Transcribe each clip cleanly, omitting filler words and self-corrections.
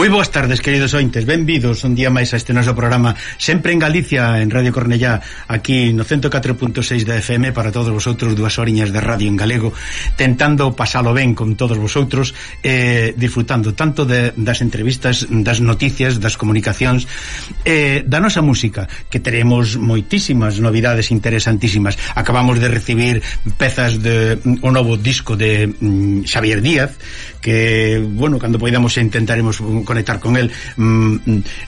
Moi boas tardes, queridos ointes, benvidos un día máis a este noso programa, sempre en Galicia, en Radio Cornellá, aquí no 104.6 da FM, para todos vosotros, 2 horiñas de radio en galego, tentando pasalo ben con todos vosotros, disfrutando tanto das entrevistas, das noticias, das comunicacións, da nosa música, que teremos moitísimas novidades interesantísimas. Acabamos de recibir pezas de o novo disco de Xavier Díaz, que, bueno, cando poidamos intentaremos conectar con el,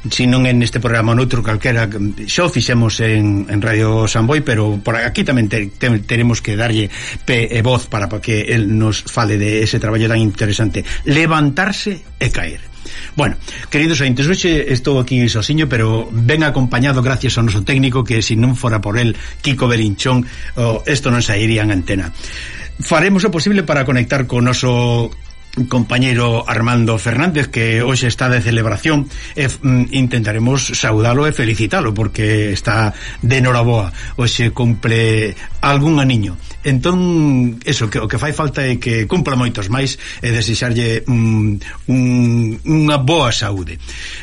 si non en este programa noutro calquera. Xa o fixemos en Radio Samboy, pero por aquí tamén teremos que darlle pé e voz para que el nos fale de ese traballo tan interesante, levantarse e caer. Bueno, queridos ointes, hoxe estou aquí sosiño, pero ben acompañado gracias ao noso técnico, que se non fora por el, Kiko Belinchón, isto non sairía en antena. Faremos o posible para conectar con o noso compañeiro Armando Fernández, que hoxe está de celebración, e intentaremos saudalo e felicitalo porque está de noraboa, hoxe cumple algún aniño. Entón, eso, que o que fai falta é que cumpla moitos máis e desexarlle unha boa saúde.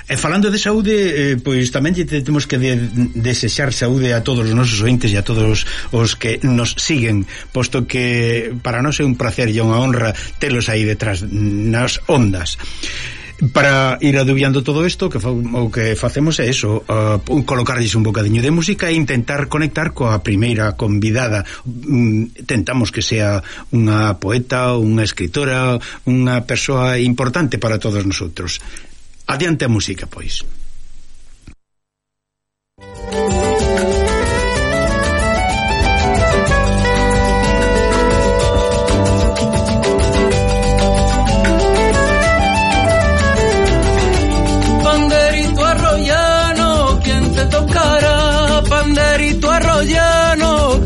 E falando de saúde, pois tamén temos que desexar saúde a todos os nosos ointes e a todos os que nos siguen, posto que para nós é un placer e unha honra telos aí detrás nas ondas. Para ir adubiando todo isto, o que facemos é eso, colocarlles un bocadiño de música e intentar conectar coa primeira convidada. Tentamos que sea unha poeta, unha escritora, unha persoa importante para todos nosotros. Adiante a música, pois.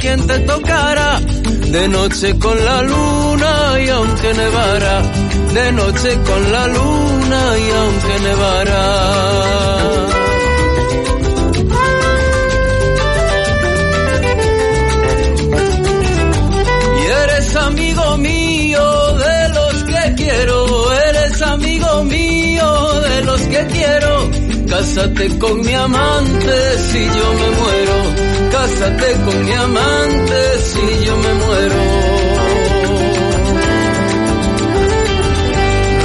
Quien te tocara de noche con la luna y aunque nevara, de noche con la luna y aunque nevara. Y eres amigo mío de los que quiero, eres amigo mío de los que quiero. Cásate con mi amante si yo me muero. Cásate con mi amante si yo me muero.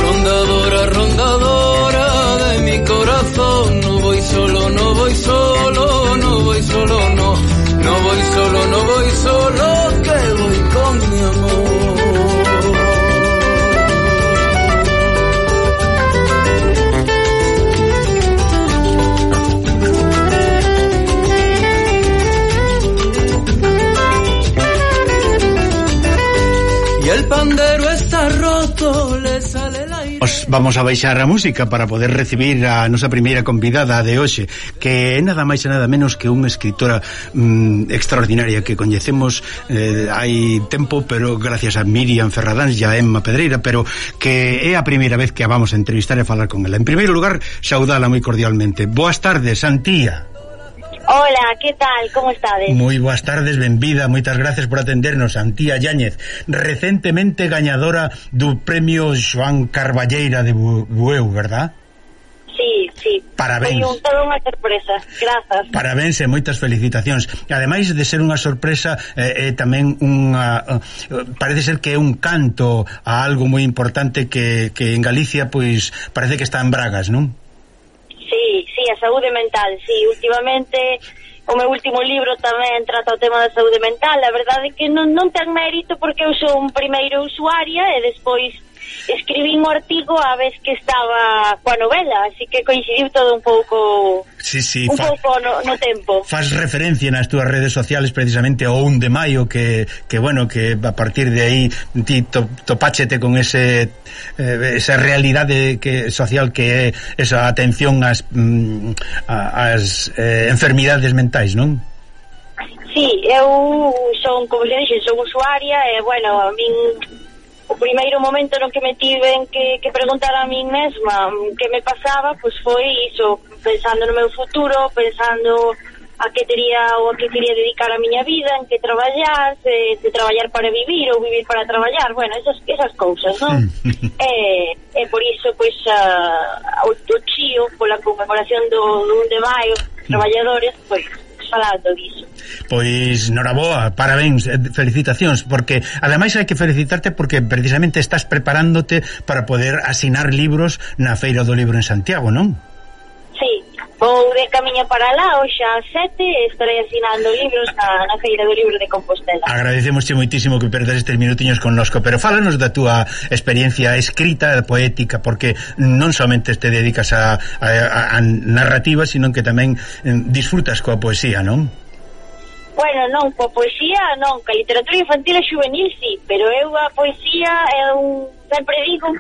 Rondadora, rondadora de mi corazón, no voy solo, no voy solo, no voy solo, no. No voy solo, no voy solo, que voy con mi amor. El pandero está roto, le sale el aire. Os vamos a baixar a música para poder recibir a nosa primeira convidada de hoxe, que é nada máis e nada menos que unha escritora extraordinaria que coñecemos hai tempo, pero gracias a Miriam Ferradáns e a Emma Pedreira, pero que é a primeira vez que a vamos a entrevistar e falar con ela. En primeiro lugar, saudala moi cordialmente. Boas tardes, Antía. Hola, ¿qué tal? ¿Cómo estades? Moi boas tardes, benvida, moitas gracias por atendernos, Antía Yáñez, recentemente gañadora do premio Xoán Carballeira de Bueu, verdad? Sí. Parabéns. Foi toda unha sorpresa, grazas. Parabéns e moitas felicitacións. Ademais de ser unha sorpresa, tamén parece ser que é un canto a algo moi importante que en Galicia, pois, parece que está en bragas, non? Sí, a saúde mental, sí, últimamente o meu último libro tamén trata o tema da saúde mental. A verdade é que non ten mérito porque eu son primeiro usuaria e despois escribín o artigo a vez que estaba coa novela, así que coincidiu todo un pouco pouco no tempo. Faz referencia nas túas redes sociales precisamente ao 1 de maio que bueno, que a partir de aí ti topáchete con esa realidade social que é esa atención ás enfermidades mentais, non? Sí, eu son, como xe dixen, son usuaria e, bueno, a min o primeiro momento no que me tiven que preguntar a min mesma que me pasaba, pois foi iso, pensando no meu futuro, pensando a que tería ou a que quería dedicar a miña vida, en que traballar, de traballar para vivir ou vivir para traballar, bueno, esas cousas, non? E por iso, pois, o chío, pola conmemoración do 1 de maio, traballadores, pois, falando diso. Pois, noraboa, parabéns, felicitacións, porque ademais hai que felicitarte porque precisamente estás preparándote para poder asinar libros na Feira do Libro en Santiago, non? Sí, vou de camiño para lá, hoxe ás 7 estarei asinando libros na Feira do Libro de Compostela. Agradecemosche moitísimo que perdas estes minutiños connosco, pero fálanos da túa experiencia escrita, poética, porque non somente te dedicas a narrativa, sino que tamén disfrutas coa poesía, non? Bueno, non, coa poesía non, coa literatura infantil e juvenil sí, pero eu a poesía sempre digo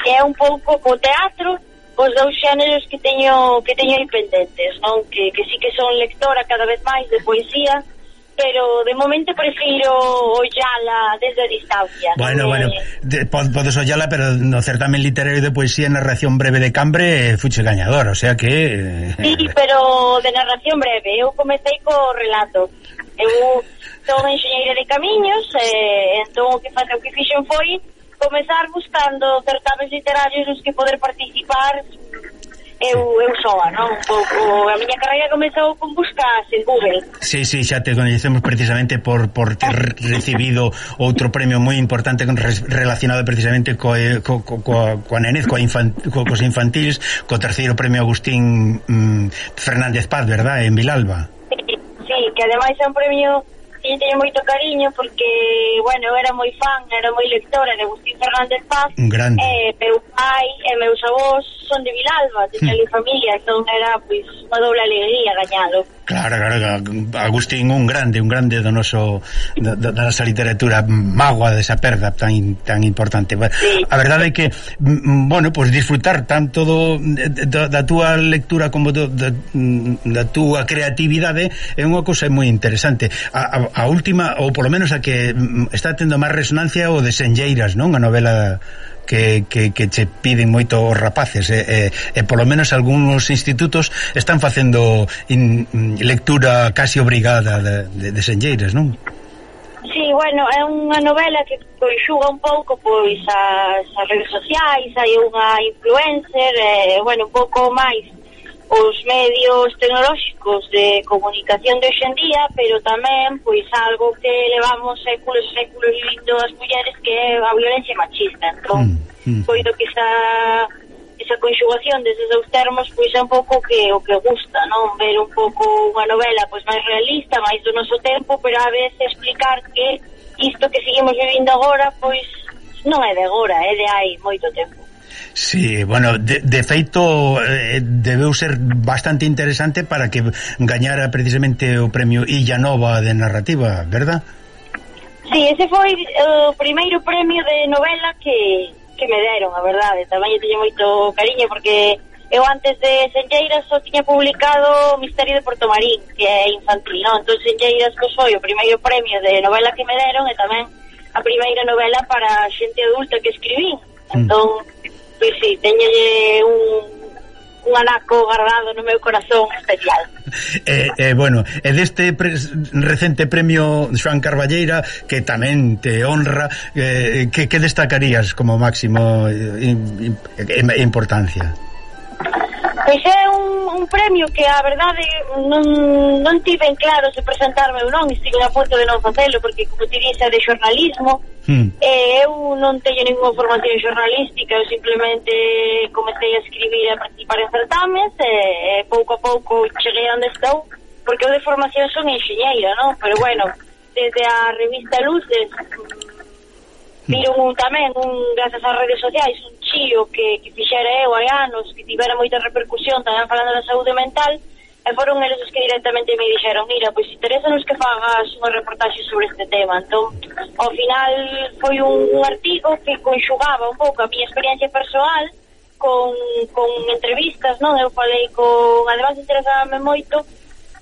que é un pouco co teatro, os dous xéneros que teño aí pendentes, non? Que sí que son lectora cada vez máis de poesía, pero de momento prefiro ollala desde a distancia. Bueno, podes ollala, pero no certamen literario de poesía en narración breve de Cambre fuche gañador, o sea que... Sí, pero de narración breve, eu comecei co relato. Eu son enxeñeira de camiños, entón o que fixen foi comezar buscando certames literarios nos que poder participar eu soa, non? Un pouco, a miña carreira comezou con buscas en Google. Sí, xa te conhecemos precisamente por ter recibido outro premio moi importante relacionado precisamente coa nenez, cos infantiles, co terceiro premio Agustín Fernández Paz, verdad, en Vilalba. Sí, que ademais é un premio que teño moito cariño porque, bueno, eu era moi fan, era moi lectora de Agustín Fernández Paz. Grande. Meu pai e meus avós son de Vilalba, teño ali familia, entón era, pois, unha doble alegría gañalo. Claro, Agustín, un grande do noso da nosa literatura, mágoa desa perda tan importante. Sí. A verdade é que, bueno, pues disfrutar tanto da túa lectura como da túa creatividade é unha cousa moi interesante. A última, ou polo menos a que está tendo máis resonancia, o de Senlleiras, non? A novela que che piden moito os rapaces, e polo menos algúns institutos están facendo lectura casi obrigada de Senlleiras, non? Sí, bueno, é unha novela que conxuga un pouco pois as redes sociais, hai unha influencer, bueno, un pouco máis os medios tecnolóxicos de comunicación de hoxendía, pero tamén pois algo que levamos séculos vivindo as mulleres, que é a violencia machista. Entón, coido que esa conxugación deses dous termos pois é un pouco o que gusta, non? Ver un pouco unha novela pois máis realista, máis do noso tempo, pero a veces explicar que isto que seguimos vivindo agora pois non é de agora, é de hai moito tempo. Sí, bueno, de feito debeu ser bastante interesante para que gañara precisamente o premio Illa Nova de narrativa, verdad? Sí, ese foi o primeiro premio de novela que me deron, a verdade. Tamén eu teño moito cariño porque eu antes de Senlleiras só tiña publicado Misterio de Portomarín, que é infantil, non? Entón Senlleiras foi o primeiro premio de novela que me deron e tamén a primeira novela para xente adulta que escribí. Entón, pois sí, teñolle un anaco guardado no meu corazón especial. Bueno, e deste recente premio Xoán Carballeira, que tamén te honra, que destacarías como máximo importancia? Pois é un premio que a verdade non tiven claro se presentarme ou non, estive a punto de non facelo porque, como te dixe, de xornalismo, eu non teño ninguna formación xornalística, eu simplemente comecei a escribir e a participar en certames e pouco a pouco cheguei onde estou, porque eu de formación son enxeñeira, non? Pero bueno, desde a revista Luces viron tamén, grazas ás redes sociais, un chío que fixera eu hai anos, que tivera moita repercusión tamén falando da saúde mental, e foron eles os que directamente me dixeron, mira, pois interesanos que fagas unha reportaxe sobre este tema. Entón, ao final foi un artigo que conxugaba un pouco a miña experiencia persoal con entrevistas, non? Eu falei además interesábame moito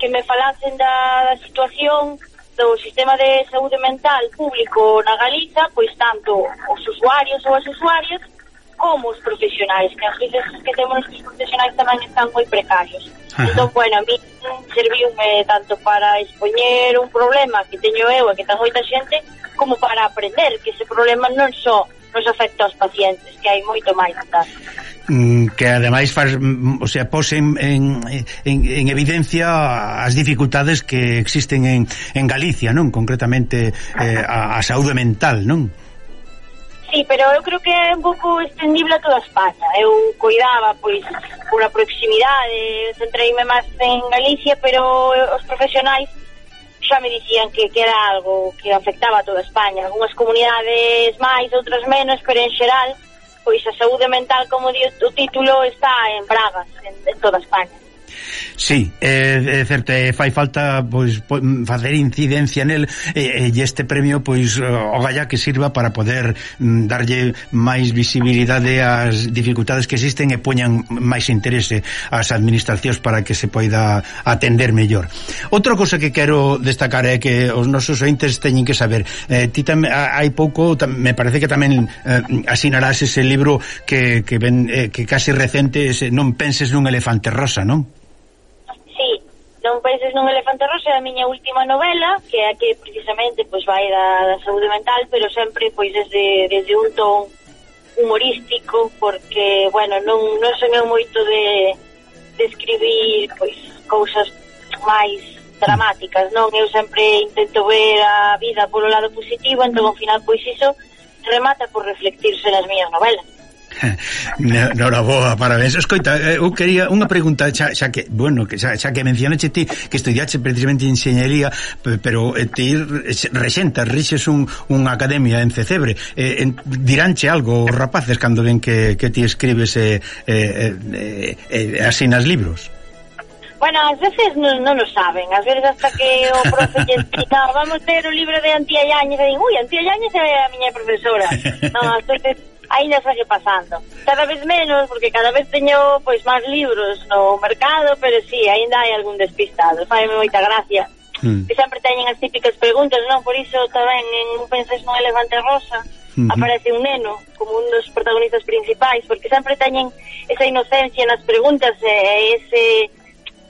que me falasen da situación do sistema de saúde mental público na Galiza, pois tanto os usuarios ou as usuarias como os profesionais, que as veces que temos os profesionais tamén están moi precarios. Entón, bueno, a mí serviume tanto para expoñer un problema que teño eu e que ten moita xente, como para aprender que ese problema non só nos afecta aos pacientes, que hai moito máis detrás. Que ademais faz, o sea, pose en evidencia as dificultades que existen en Galicia, non? Concretamente a saúde mental, non? Sí, pero eu creo que é un pouco extendible a toda España. Eu cuidaba, pois, por a proximidade, centreime máis en Galicia, pero os profesionais xa me dicían que era algo que afectaba a toda España. Algúnas comunidades máis, outras menos, pero en xeral, pois a saúde mental, como di o título, está en bragas en toda España. Sí, é certo, fai falta pois facer incidencia nel e este premio pois o galla que sirva para poder darlle máis visibilidade ás dificultades que existen e poñan máis interese ás administracións para que se poida atender mellor. Outra cosa que quero destacar é que os nosos ointes teñen que saber, ti tamén hai pouco, me parece que tamén asinarás ese libro que case recente, ese Non penses nun elefante rosa, non? Non penses nun elefante rosa, é a miña última novela, que é a que precisamente pois vai da saúde mental, pero sempre pois desde un ton humorístico, porque, bueno, non son eu moito de escribir pois cousas máis dramáticas, non? Eu sempre intento ver a vida polo lado positivo, entón ao final pois iso remata por reflectirse nas miñas novelas. Noraboa, parabéns. Escoita, eu quería unha pregunta, xa que, bueno, xa que mencionaste ti que estudiaste precisamente enxeñería, pero ti rixes unha academia en Cecebre, diránche algo os rapaces cando ven que ti escribes asinas libros? Bueno, ás veces non o saben, ás veces hasta que o profe lle explica, vamos ter o libro de Antía Yáñez, e din, ui, Antía Yáñez é a miña profesora. Non, ás veces ainda segue pasando. Cada vez menos, porque cada vez teño pois máis libros no mercado, pero sí, ainda hai algún despistado. Faime moita gracia. Que sempre teñen as típicas preguntas, non? Por iso tamén en Penses nun elefante rosa aparece un neno como un dos protagonistas principais, porque sempre teñen esa inocencia nas preguntas e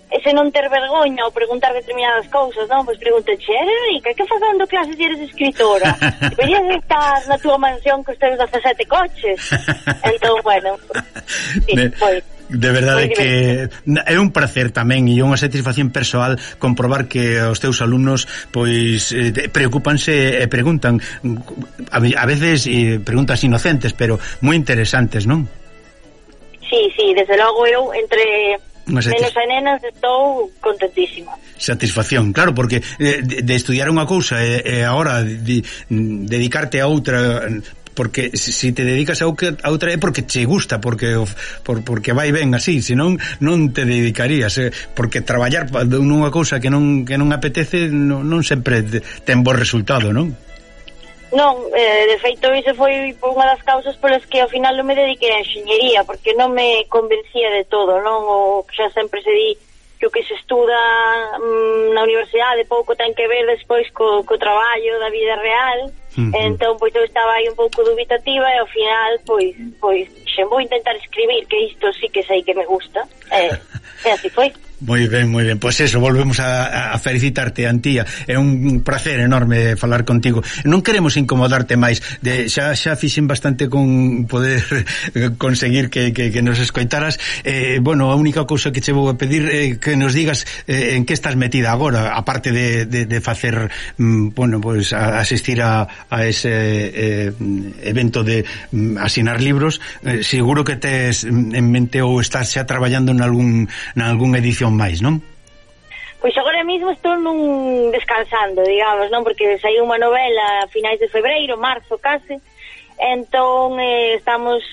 ese non ter vergoña ou preguntar determinadas cousas, non? Pois pregúntache, eres rica? Que faz dando clases e eres escritora? Deberías estar na túa mansión que teus 17 coches. Entón, bueno, sí, foi. De verdade que é un placer tamén e unha satisfacción persoal comprobar que os teus alumnos pois preocúpanse e preguntan a veces preguntas inocentes, pero moi interesantes, non? Sí, desde logo eu entre nenos e nenas estou contentísima. Satisfacción, claro, porque de estudiar unha cousa e agora dedicarte a outra, porque se te dedicas a outra é porque che gusta, porque vai ben así, senón non te dedicarías, porque traballar nunha cousa que non apetece non sempre ten bo resultado, non? Non, de feito iso foi unha das causas polas que ao final non me dediquei a enxeñería, porque non me convencía de todo, non? O que xa sempre se di que o que se estuda na universidade pouco ten que ver despois co traballo da vida real. Entón, pois eu estaba aí un pouco dubitativa e ao final, pois xe vou intentar escribir, que isto sí que sei que me gusta, e así foi. Moi ben, pois eso, volvemos a felicitarte, Antía. É un placer enorme falar contigo. Non queremos incomodarte máis, xa fixen bastante con poder conseguir que nos escoitaras. Bueno, a única cousa que che vou a pedir é que nos digas en que estás metida agora, aparte de facer, bueno, pois asistir a ese evento de asinar libros. Seguro que tes en mente ou estás xa traballando en algún edición máis, non? Pois agora mesmo estou descansando, digamos, non? Porque saiu unha novela a finais de febreiro, marzo case, entón estamos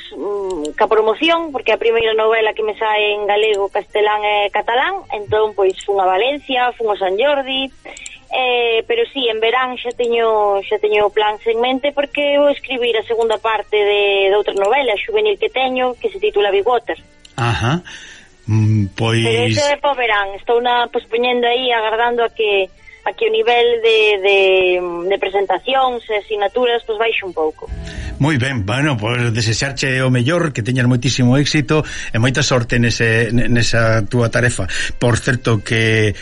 ca promoción, porque a primeira novela que me sae en galego, castelán e catalán, entón pois fun a Valencia, fun a San Jordi, pero sí, en verán xa teño plans en mente, porque vou escribir a segunda parte de outra novela juvenil que teño, que se titula Big Water. Ajá. Pois... Pero iso é po verán, estou pospoñendo aí, agardando a que o nivel de presentacións e asignaturas baixe un pouco. Moi ben, bueno, pois desexarche o mellor, que teñas moitísimo éxito e moita sorte nesa túa tarefa. Por certo que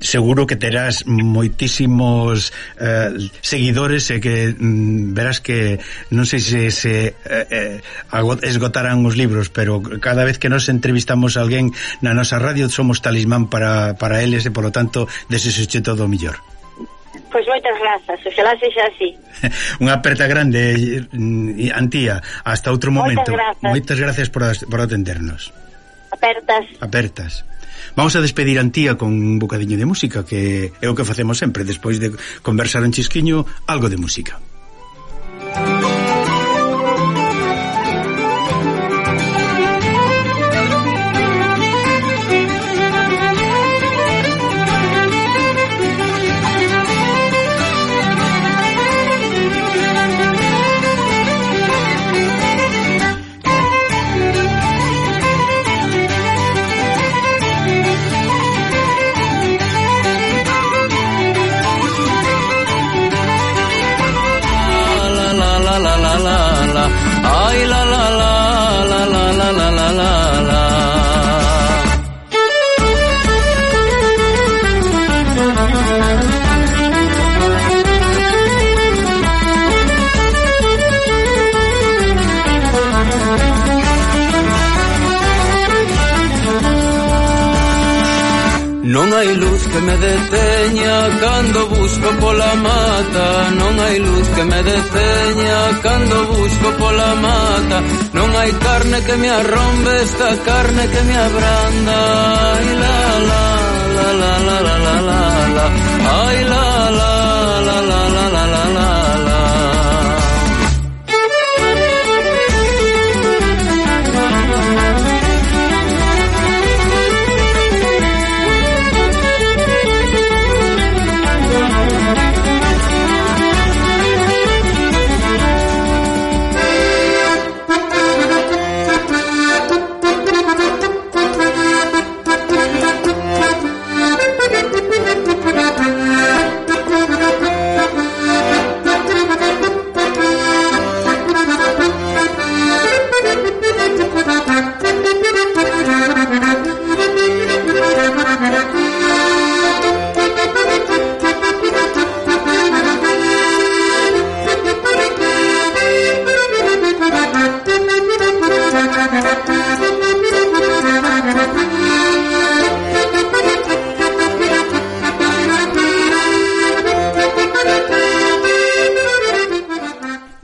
seguro que terás moitísimos seguidores e que verás que non sei se esgotarán os libros, pero cada vez que nos entrevistamos a alguén na nosa radio somos talismán para eles e polo tanto desexoche todo o mellor. Pois moitas grazas, oxalá sexa así. Unha aperta grande, Antía, hasta outro momento. Moitas gracias por atendernos. Apertas. Vamos a despedir a Antía con un bocadiño de música, que é o que facemos sempre, despois de conversar un chisquiño, algo de música. Non hai luz que me deteña cando busco pola mata, non hai luz que me deteña cando busco pola mata, non hai carne que me arrombe esta carne que me abranda. Ai la la la la la la la la la, ai la la la la la la la la.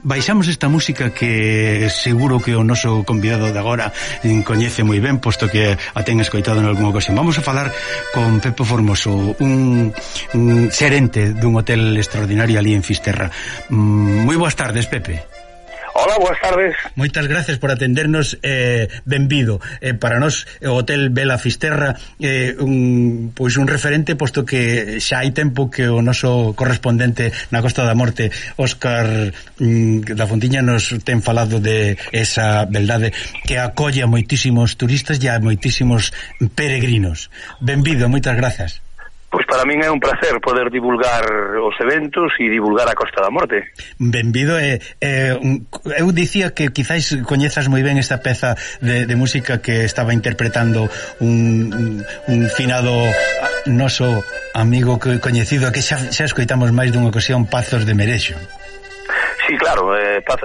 Baixamos esta música que seguro que o noso convidado de agora coñece moi ben, posto que a ten escoitado en algunha ocasión. Vamos a falar con Pepe Formoso, un xerente dun hotel extraordinario ali en Fisterra. Moi boas tardes, Pepe. Hola, boas tardes. Moitas gracias por atendernos, benvido. Para nós o Hotel Vela Fisterra pois un referente, posto que xa hai tempo que o noso correspondente na Costa da Morte, Óscar da Fontiña, nos ten falado de esa beldade que acolle a moitísimos turistas e a moitísimos peregrinos. Benvido, moitas grazas. Pois para min é un placer poder divulgar os eventos e divulgar a Costa da Morte. Benvido. Eu dicía que quizáis coñezas moi ben esta peza de música que estaba interpretando un finado noso amigo coñecido, que xa escoitamos máis dunha ocasión, Pazos de Merexo. Sí, claro,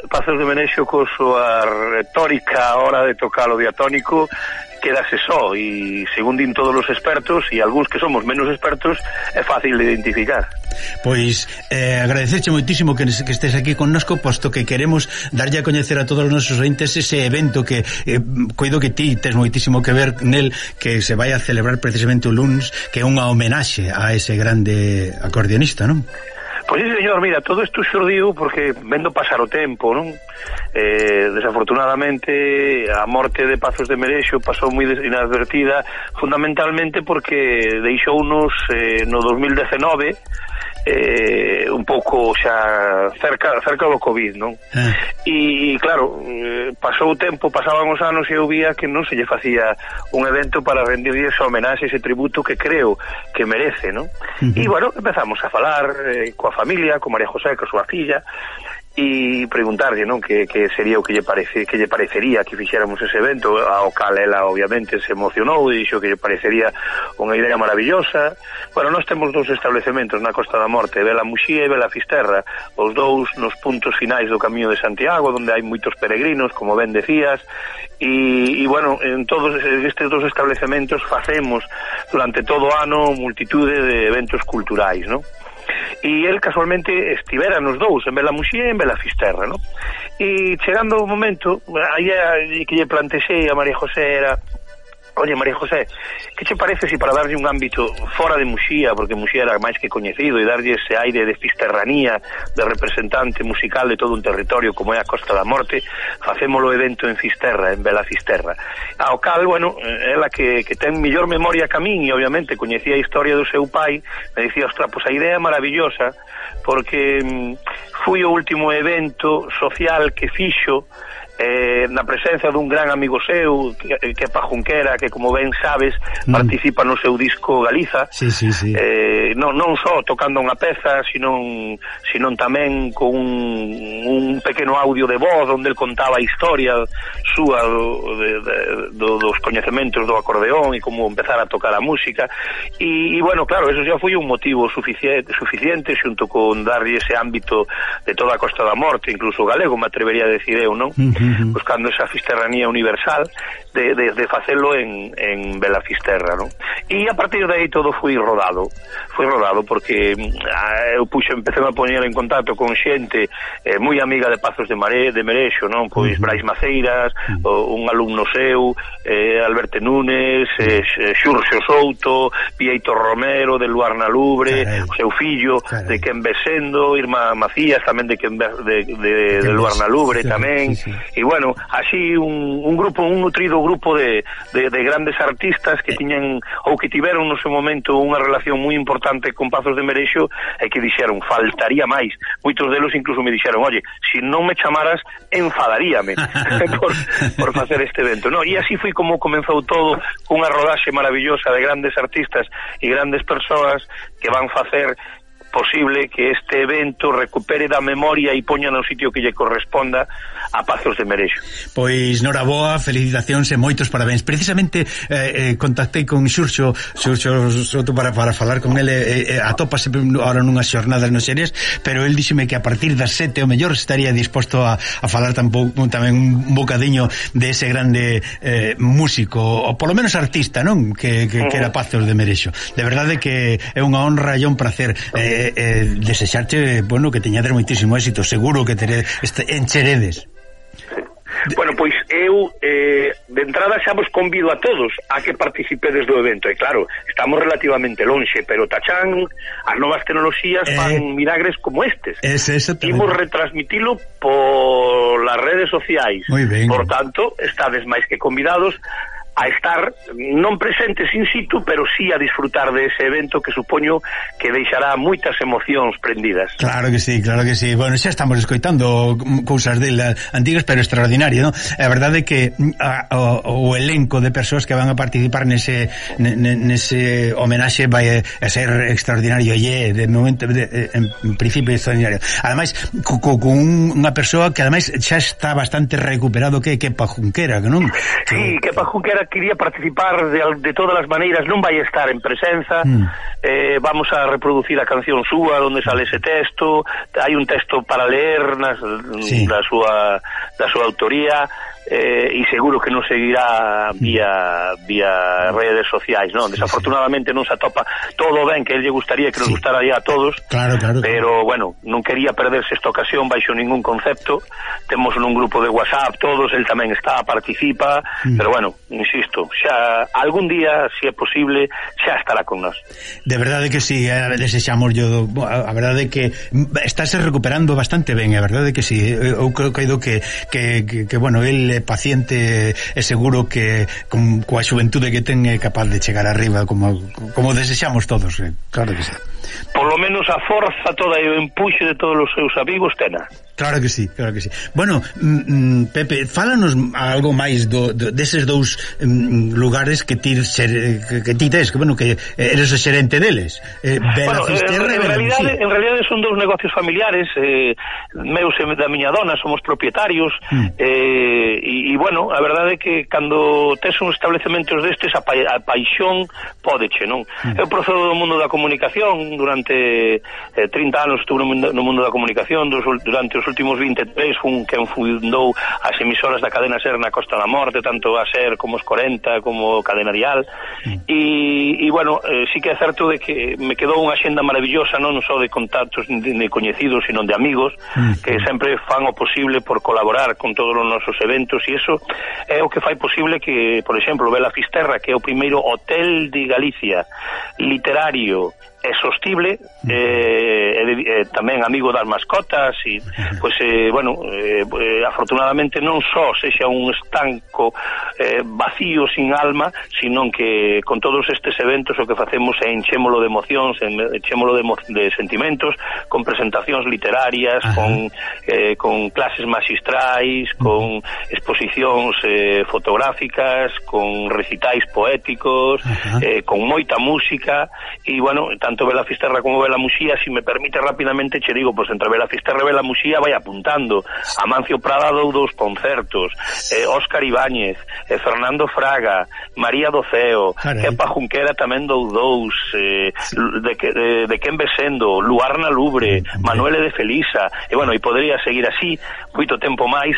Pazos de Merexo co súa retórica a hora de tocar o diatónico quedase só, e según din todos os expertos e algúns que somos menos expertos, é fácil de identificar. Pois agradecerche moitísimo que estés aquí connosco, posto que queremos darlle a coñecer a todos os nosos ointes ese evento que coido que ti tes moitísimo que ver nel, que se vai a celebrar precisamente o luns, que é unha homenaxe a ese grande acordeonista, non? Pois sí, señor, mira, todo isto xurdiu porque vendo pasar o tempo, non? Desafortunadamente a morte de Pazos de Merexo pasou moi inadvertida, fundamentalmente porque deixounos no 2019 un pouco xa cerca do COVID, non? E claro, pasou o tempo, pasaban os anos e eu vía que non se lle facía un evento para rendirlle esa homenaxe, ese tributo que creo que merece, non? E bueno, empezamos a falar coa familia, con María José, coa súa filla, e preguntarlle, non, que sería o que lle parecería que fixéramos ese evento. Ao cal ela obviamente se emocionou e dixo que lle parecería unha idea maravillosa. Bueno, nós temos 2 establecementos na Costa da Morte, Vela Muxía e Vela Fisterra, os 2 nos puntos finais do Camiño de Santiago, onde hai moitos peregrinos, como ben decías, e bueno, en todos estes 2 establecementos facemos durante todo o ano multitude de eventos culturais, non? E el casualmente estivera nos 2, en Vela Muxía e en Vela Fisterra, non? E chegando o momento, aí que lle plantexei a María José era: oye, María José, que che parece se para darlle un ámbito fora de Muxía, porque Muxía era máis que coñecido, e darlle ese aire de fisterranía, de representante musical de todo un territorio como é a Costa da Morte, facémolo evento en Fisterra, en Vela Fisterra? Ao cal, bueno, ela que ten mellor memoria que a min, e obviamente coñecía a historia do seu pai, me dicía: ostra, pois a idea é maravillosa, porque foi o último evento social que fixo na presencia dun gran amigo seu que é Pajunquera, que como ben sabes participa no seu disco Galiza. Sí. Non só tocando unha peza, sino tamén con un pequeno audio de voz onde el contaba a historia súa dos coñecementos do acordeón e como empezar a tocar a música, e bueno, claro, eso xa foi un motivo suficiente xunto con darlle ese ámbito de toda a Costa da Morte, incluso galego, me atrevería a decir eu, non? Buscando esa fisterranía universal de facelo en Vela Fisterra, non? E a partir de aí todo foi rodado porque eu empecé a poñer en contacto con xente moi amiga de Pazos de Merexo, non? Pois Brais Maceiras, un alumno seu, Alberto Núñez, Xurxo Souto, Pieito Romero de Luarna Lubre, o seu fillo de Quen Besendo, Irma Macías tamén de Luarna Lubre tamén. E bueno, así un nutrido grupo de grandes artistas que tiñan ou que tiveron no seu momento unha relación moi importante con Pazos de Merexo e que dixeron: faltaría máis. Moitos delos incluso me dixeron: oye, se non me chamaras enfadaríame por facer este evento, no? E así foi como comenzou todo, unha rodaxe maravillosa de grandes artistas e grandes persoas que van facer posible que este evento recupere da memoria e poña no sitio que lle corresponda a Pazos de Merexo. Pois noraboa, felicitacións e moitos parabéns. Precisamente contactei con Xurxo Soto para falar con ele, atópase ahora nunhas xornadas no Xerés, pero el díxeme que a partir das 7 o mellor estaría disposto a falar tamén un bocadiño de ese grande músico, ou polo menos artista, non? Que era Pazos de Merexo. De verdade que é unha honra e un placer desexarte, bueno, que teñades moitísimo éxito. Seguro que encheredes. Bueno, pois eu de entrada xa vos convido a todos a que participedes do evento, e claro, estamos relativamente lonxe, pero tachán, as novas tecnoloxías fan milagres como estes. Imos retransmitilo por las redes sociais. Por tanto, estades máis que convidados a estar non presentes in situ, pero sí a disfrutar de ese evento que supoño que deixará moitas emocións prendidas. Claro que sí. Bueno, xa estamos escoitando cousas dela antigas, pero extraordinario, non? A verdade é que o elenco de persoas que van a participar nese homenaxe vai a ser extraordinario, e de momento en principio extraordinario. Ademais, con unha persoa que ademais xa está bastante recuperado, que Pajunquera, non? Sí, que Pajunquera quería participar de todas as maneiras, non vai estar en presenza. Vamos a reproducir a canción súa onde sale ese texto, hai un texto para leer da súa autoría, e seguro que non seguirá vía redes sociais, non? Desafortunadamente non se atopa todo ben que lle gustaría que nos gustara a todos, claro. Pero bueno, non quería perderse esta ocasión baixo ningún concepto. Temos un grupo de WhatsApp todos, el tamén participa, pero bueno, insisto, xa algún día, se é posible, xa estará con nós. De verdade que sí, desexamos a verdade que estáse recuperando bastante ben, a verdade que sí. Eu creo que bueno, el paciente e seguro que coa xuventude que ten é capaz de chegar arriba como desexamos todos, claro que sí. Por lo menos a forza toda e o empuxe de todos os seus amigos tena. Claro que sí, claro que sí. Bueno, Pepe, fálanos algo máis deses dous lugares que ti tes, que bueno, que eres o xerente deles. Bueno, en realidade son dous negocios familiares, meus e da miña dona, somos propietarios, e bueno, a verdade é que cando tes uns establecementos destes, a paixón pódeche, non? Eu procedo do mundo da comunicación, durante 30 anos estuve no mundo da comunicación, durante os últimos 23 fun quen fundou as emisoras da cadena SER na Costa da Morte, tanto a SER como os 40, como Cadena Dial, e bueno, sí que é certo de que me quedou unha xenda maravillosa, non só de contactos de coñecidos, sino de amigos, que sempre fan o posible por colaborar con todos os nosos eventos, e iso é o que fai posible que, por exemplo, Vela Fisterra, que é o primeiro hotel de Galicia literario e sostible, tamén amigo das mascotas, e pois bueno, afortunadamente non só sexa un estanco vacío sin alma, sino que con todos estes eventos o que facemos é enchémolo de emocións, enchémolo de sentimentos, con presentacións literarias, con clases magistrais, con exposicións fotográficas, con recitais poéticos, con moita música, e bueno, tanto Vela Fisterra como Vela Muxía, si me permite rapidamente che digo, pois entre Vela Fisterra e Vela Muxía vai apuntando. Amancio Prada dou 2 concertos, Óscar Ibáñez, Fernando Fraga, María Doceo, Kepa Junquera tamén dou 2, de Quen Besendo, Luarna Lubre, Manuele de Felisa, e bueno, e podría seguir así moito tempo máis,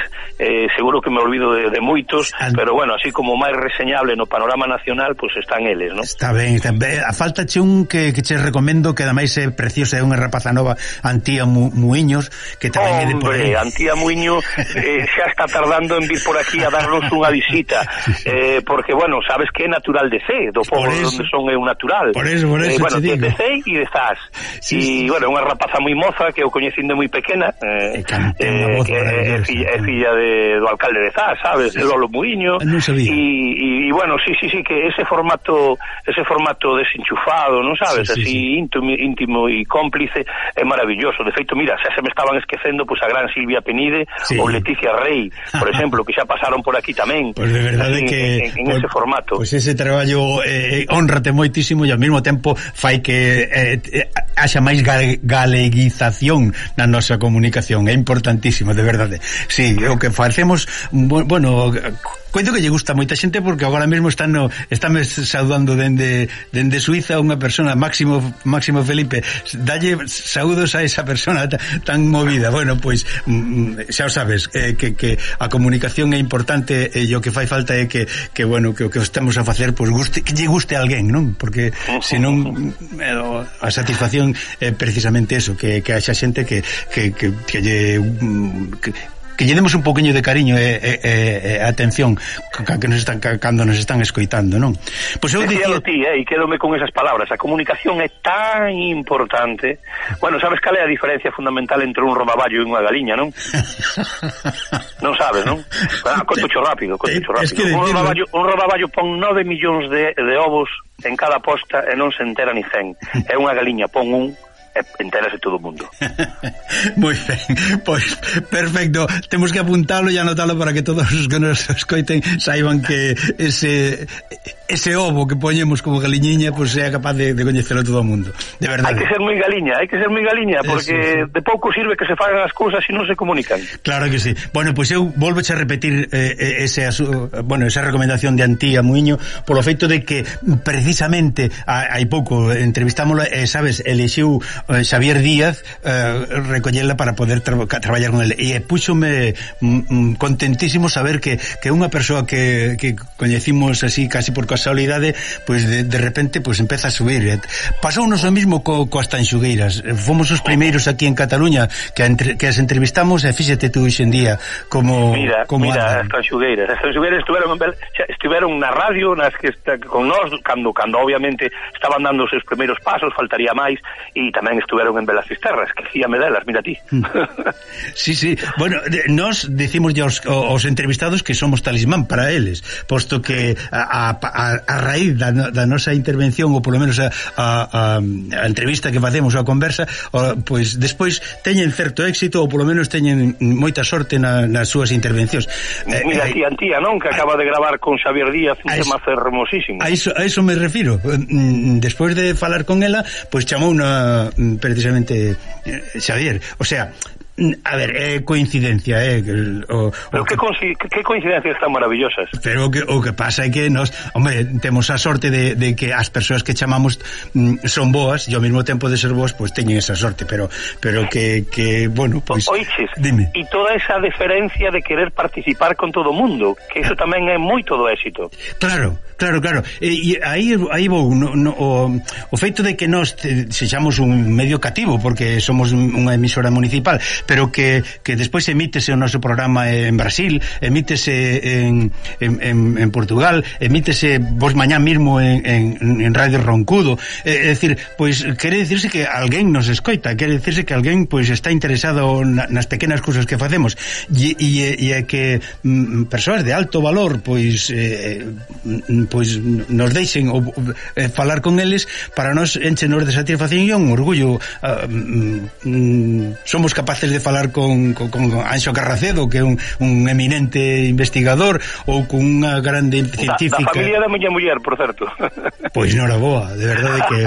seguro que me olvido de moitos, pero bueno, así como máis reseñable no panorama nacional, pois están eles, non? Está ben, a falta che un que che recomendo, que ademais é preciosa, é unha rapaza nova, Antía Muiños, que tamén é de por aí. Antía Muiño xa está tardando en vir por aquí a darnos unha visita, porque, bueno, sabes que é natural de Cee, do pobo onde son é un natural. Por eso bueno, de Cee e de Zas. E, bueno, unha rapaza moi moza, que eu coñecín de moi pequena, é filla do alcalde de Zas, sabes, de Lolo Muiño, e bueno, sí, que ese formato desenchufado, non sabes, así íntimo e cómplice, é maravilloso. De feito, mira, xa se me estaban esquecendo pois a gran Silvia Penide ou Leticia Rey, por exemplo, que xa pasaron por aquí tamén. Pois de verdade que en ese formato. Pois ese traballo honrate moitísimo, e ao mesmo tempo fai que haxa máis galeguización na nosa comunicación. É importantísimo, de verdade. Sí, o que facemos, bueno, coito que lle gusta moita xente, porque agora mesmo estáme saudando dende Suiza unha persona, Máximo Felipe, dalle saúdos a esa persona tan movida. Bueno, pois xa o sabes, que a comunicación é importante, e o que fai falta é que bueno, que o que estamos a facer pois que lle guste a alguén, non? Porque senón a satisfacción é precisamente eso, que haxa xente que lle demos un poquinho de cariño e atención cando nos están escoitando, non? Pois eu dicía ti, e quedome con esas palabras. A comunicación é tan importante. Bueno, sabes cal é a diferencia fundamental entre un rodaballo e unha galiña, non? Non sabes, non? Contocho rápido. Un rodaballo pon 9 millóns de ovos en cada posta e non se entera ni 100. É unha galiña pon un, entérase todo o mundo. Moi ben, pois perfecto, temos que apuntalo e anotalo para que todos os que nos escoiten saiban que ese ovo que poñemos como galiñiña pois sea capaz de coñecelo todo o mundo, de verdade. Hai que ser moi galiña, porque de pouco sirve que se fagan as cousas se non se comunican. Claro que sí. Bueno, pois eu volvoche a repetir esa recomendación de Antía Muiño, polo feito de que precisamente hai pouco entrevistámola, sabes, elixiu Xavier Díaz recollela para poder traballar con ele, e púxome contentísimo saber que unha persoa que coñecimos así casi por casualidade, pois de repente pois empeza a subir. Pasounos o mismo coas tanxugueiras. Fomos os primeiros aquí en Cataluña que as entrevistamos, e fíxate tú hoxe en día como as tanxugueiras estiveron na radio, nas que con nós cando obviamente estaban dando os seus primeiros pasos, faltaría máis, e tamén tamén estuveron en Belas Fisterras, que fíame delas, mira ti. Sí, sí, bueno, nos decimos ya aos entrevistados que somos talismán para eles, posto que a raíz da nosa intervención, ou polo menos a entrevista que facemos, a conversa, pois despois teñen certo éxito, ou polo menos teñen moita sorte nas súas intervencións. Mira ti, Antía, non? Que acaba de gravar con Xavier Díaz un tema fermosísimo. A iso me refiro. Despois de falar con ela, pois chamou precisamente Xavier. O sea, a ver, coincidencia, pero que coincidencias tan maravillosas. Pero o que pasa é que nos, hombre, temos a sorte de que as persoas que chamamos son boas, e ao mesmo tempo de ser boas, pois teñen esa sorte, pero que bueno, pois dime. E toda esa deferencia de querer participar con todo o mundo, que iso tamén é moito do éxito. Claro. E aí vou o feito de que nós sexamos un medio cativo, porque somos unha emisora municipal, pero que despois emítese o noso programa en Brasil, emítese en Portugal, emítese vos mañá mismo en Radio Roncudo, é dicir, pois quere dicirse que alguén nos escoita, quere dicirse que alguén pois está interesado nas pequenas cousas que facemos, e que persoas de alto valor pois nos deixen falar con eles, para nós enchenos de satisfacción e un orgullo. Somos capaces de falar con Anxo Carracedo, que é un eminente investigador, ou con unha grande científica da familia da miña muller, por certo. Pois noraboa, de verdade que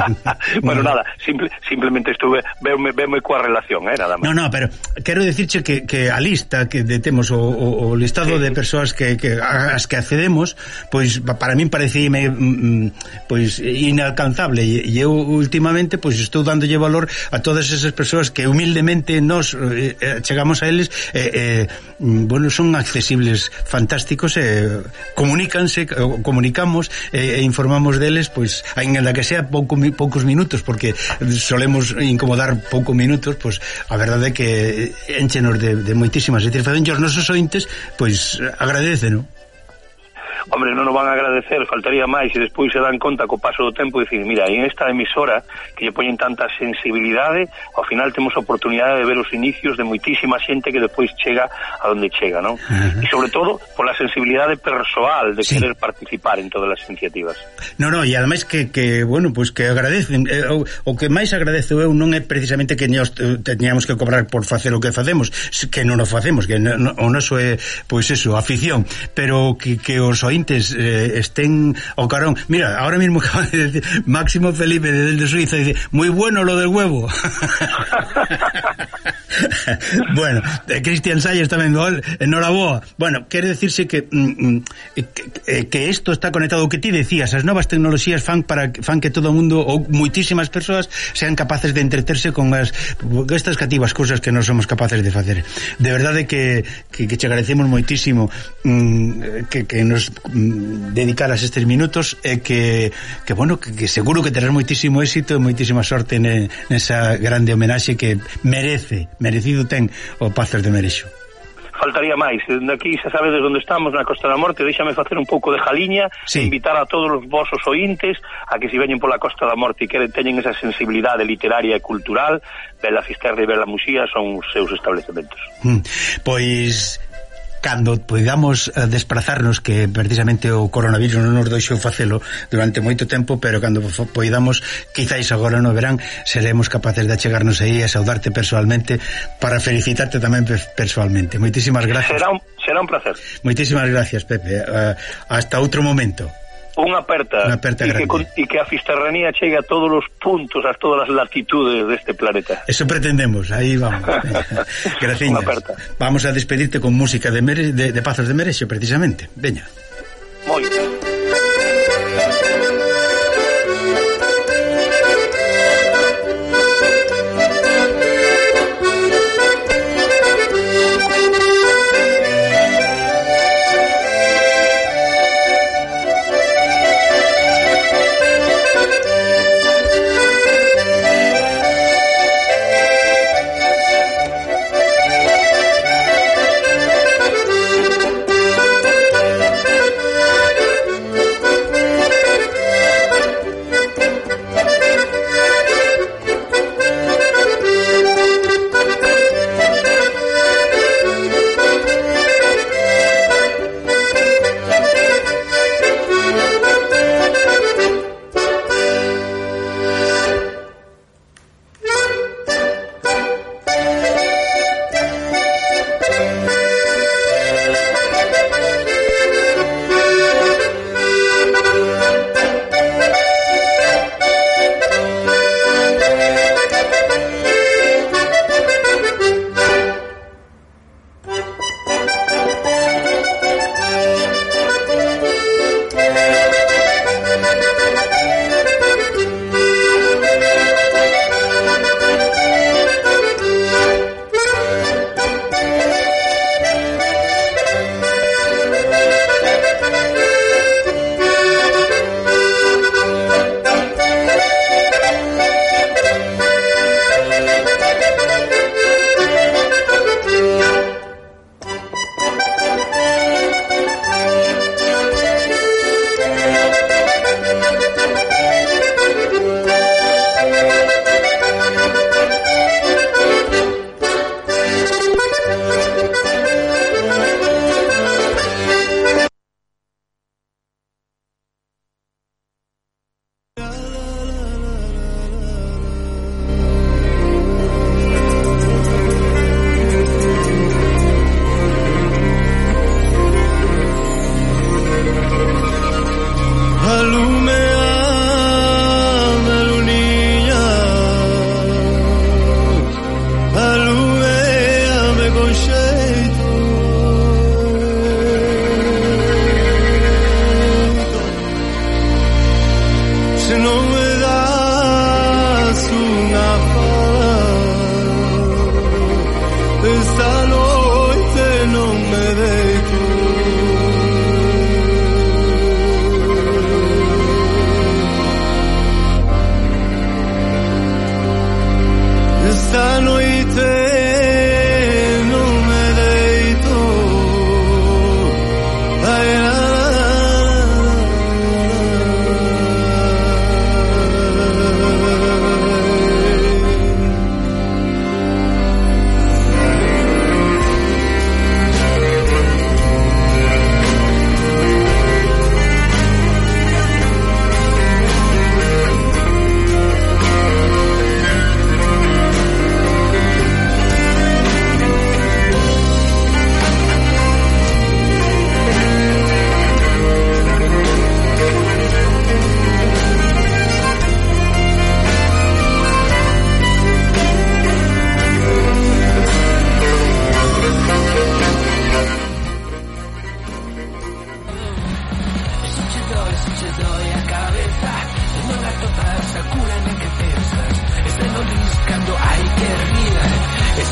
bueno, nada, simplemente veme coa relación, nada máis. No, pero quero dicirche que a lista que temos o listado de persoas que as que accedemos, pois para min parecíme pois inalcanzable, e eu últimamente pois estou dándolle valor a todas esas persoas que humildemente nos chegamos a eles, bueno, son accesibles, fantásticos, comunicamos e informamos deles, pois aínda que sea poucos minutos, porque solemos incomodar poucos minutos, pois a verdade é que enchenos de moitísimas satisfaccións, os nosos ointes pois agradecen, non? Hombre, non nos van a agradecer, faltaría máis, e despois se dan conta co paso do tempo e dicir, mira, en esta emisora que lle poñen tanta sensibilidade, ao final temos a oportunidade de ver os inicios de moitísima xente que despois chega a donde chega, non? E sobre todo pola sensibilidade persoal de querer participar en todas as iniciativas. No, e ademais que bueno, pois que agradecen, o que máis agradezo eu non é precisamente que nós teñamos que cobrar por facer o que facemos, que non o facemos, que o noso é, pois eso, afición, pero que os ointes estén ao carón. Mira, ahora mismo acaba de decir Máximo Felipe desde Suiza, dice, moi bueno lo del huevo. Bueno, Cristian Salles tamén, enhoraboa. Bueno, quere decirse que isto está conectado ao que ti decías, as novas tecnoloxías fan que todo o mundo, ou moitísimas persoas, sean capaces de entreterse con estas cativas cousas que non somos capaces de facer. De verdade que te agradecemos moitísimo que nos dedicaras estes minutos, e que bueno, que seguro que terás moitísimo éxito e moitísima sorte nesa grande homenaxe que merecido ten o Pazos de Merexo. Faltaría máis, aquí xa sabedes onde estamos, na Costa da Morte. Déxame facer un pouco de jaliña, invitar a todos os vosos ointes a que se veñen pola Costa da Morte e que teñen esa sensibilidade literaria e cultural. Bela Fisterra e Bela Muxía son os seus establecementos. Pois cando podamos desplazarnos, que precisamente o coronavirus non nos deixou facelo durante moito tempo, pero cando podamos, quizáis agora no verán, seremos capaces de achegarnos aí a saudarte persoalmente, para felicitarte tamén persoalmente. Moitísimas gracias. Será un placer. Moitísimas gracias, Pepe. Hasta outro momento. Unha aperta grande. E que a fisterranía chegue a todos os puntos, a todas as latitudes deste planeta. Eso pretendemos, aí vamos. Graciñas. Vamos a despedirte con música de Pazos de Merexo, precisamente. Veña. Moi.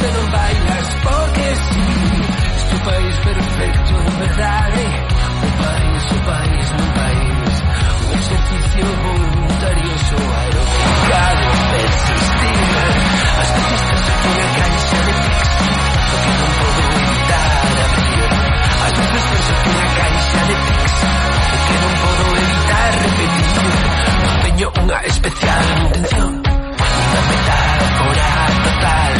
que non bailas porque sí. Este país perfecto en verdade. Un país non país. Un exercicio voluntarioso aeroficado persistir. As veces penso que unha caixa de pizza o que non podo evitar abrir. As veces penso que unha caixa de pizza o que non podo evitar repetir. Empeño unha especial intención, unha metáfora total.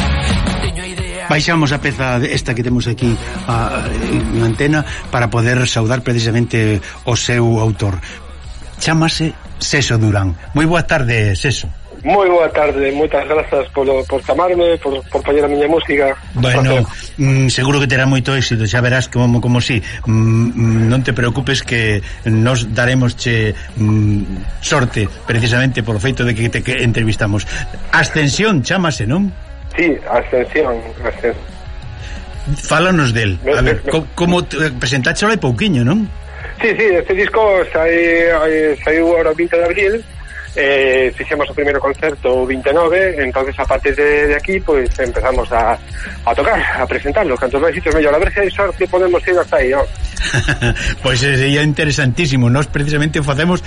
Teño idea. Baixamos a peza esta que temos aquí en antena para poder saudar precisamente o seu autor. Chámase Seso Durán. Moi boa tarde, Seso. Moi boa tarde, moitas grazas por chamarme, por poñer a miña música. Bueno, seguro que terá moito éxito, xa verás como si. Non te preocupes que nos daremosche sorte precisamente por feito de que te entrevistamos. Ascensión, chámase, non? Sí, Ascensión. Fálanos del. A ver, como presentaste hai pouquiño, non? Sí, este disco saiu agora o 20 de abril. Fixemos o primeiro concerto o 29, entonces a partir de aquí pues empezamos a tocar, a presentarlo, cantos máis sitios mellor, a ver se hai sorte podemos ir hasta aí, ¿no? Pois sería interesantísimo. Nós precisamente o facemos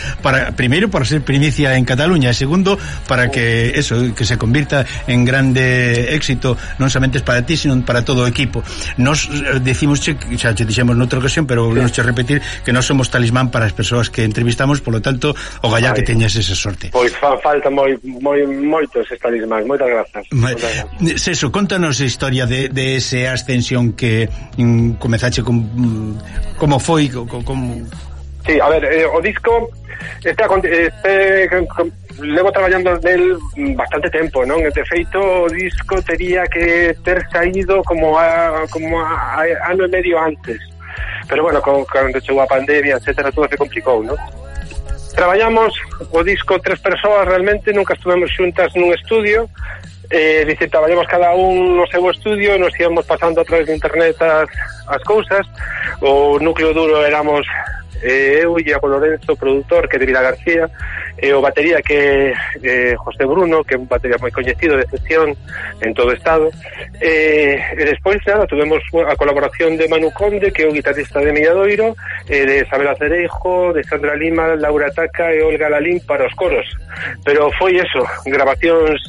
primeiro para ser primicia en Cataluña e segundo para que que se convirta en grande éxito non somente para ti, sino para todo o equipo. Nos decimos, xa te dixemos noutra ocasión, pero volvemos a repetir que nós somos talismán para as persoas que entrevistamos, polo tanto, o gallá que teñas esa sorte. Pois falta moitos talismán, moitas grazas. Seso, contanos a historia de ese Ascensión que comezache como foi como... Sí, a ver, o disco levo traballando nel bastante tempo, non? De feito, o disco tería que ter saído como ano e medio antes, pero bueno, cando chegou a pandemia, etcétera, todo se complicou, non? Traballamos o disco 3 persoas, realmente nunca estuvemos xuntas nun estudio, traballamos cada un no seu estudio, nos íamos pasando a través de internet as cousas. O núcleo duro éramos eu e Iago Lorenzo, produtor, que é de Vila García, e o batería que é José Bruno, que é un batería moi coñecido de excepción en todo o estado, e despois nada, tuvemos a colaboración de Manu Conde, que é o guitarrista de Milladoiro, de Isabel Acereijo, de Sandra Lima, Laura Taca e Olga Lalín para os coros, pero foi eso, grabacións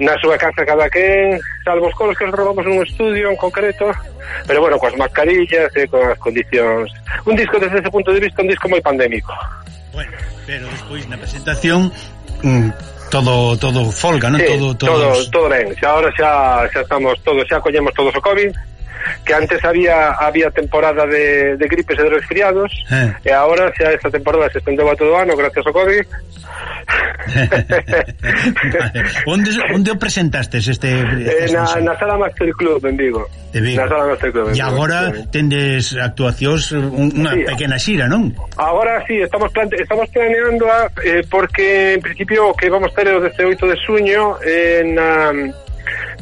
na súa casa cada quen, salvo os coros que os grabamos nun estudio en concreto, pero bueno, coas mascarillas e con as condicións. Un disco desde ese punto de vista, un disco moi pandémico. Bueno, pero despois na presentación todo folga, non? Sí, todo ben. Ahora xa estamos todos, xa collemos todos o COVID, que antes había temporada de gripes e de resfriados, e agora xa esta temporada se estendeu a todo o ano gracias ao COVID. Onde o presentastes na Sala Master Club en Vigo. Na Sala Master Club. E agora tendes actuacións, unha pequena xira, non? Agora sí, estamos planeando porque en principio o que vamos ter é o 18 de xuño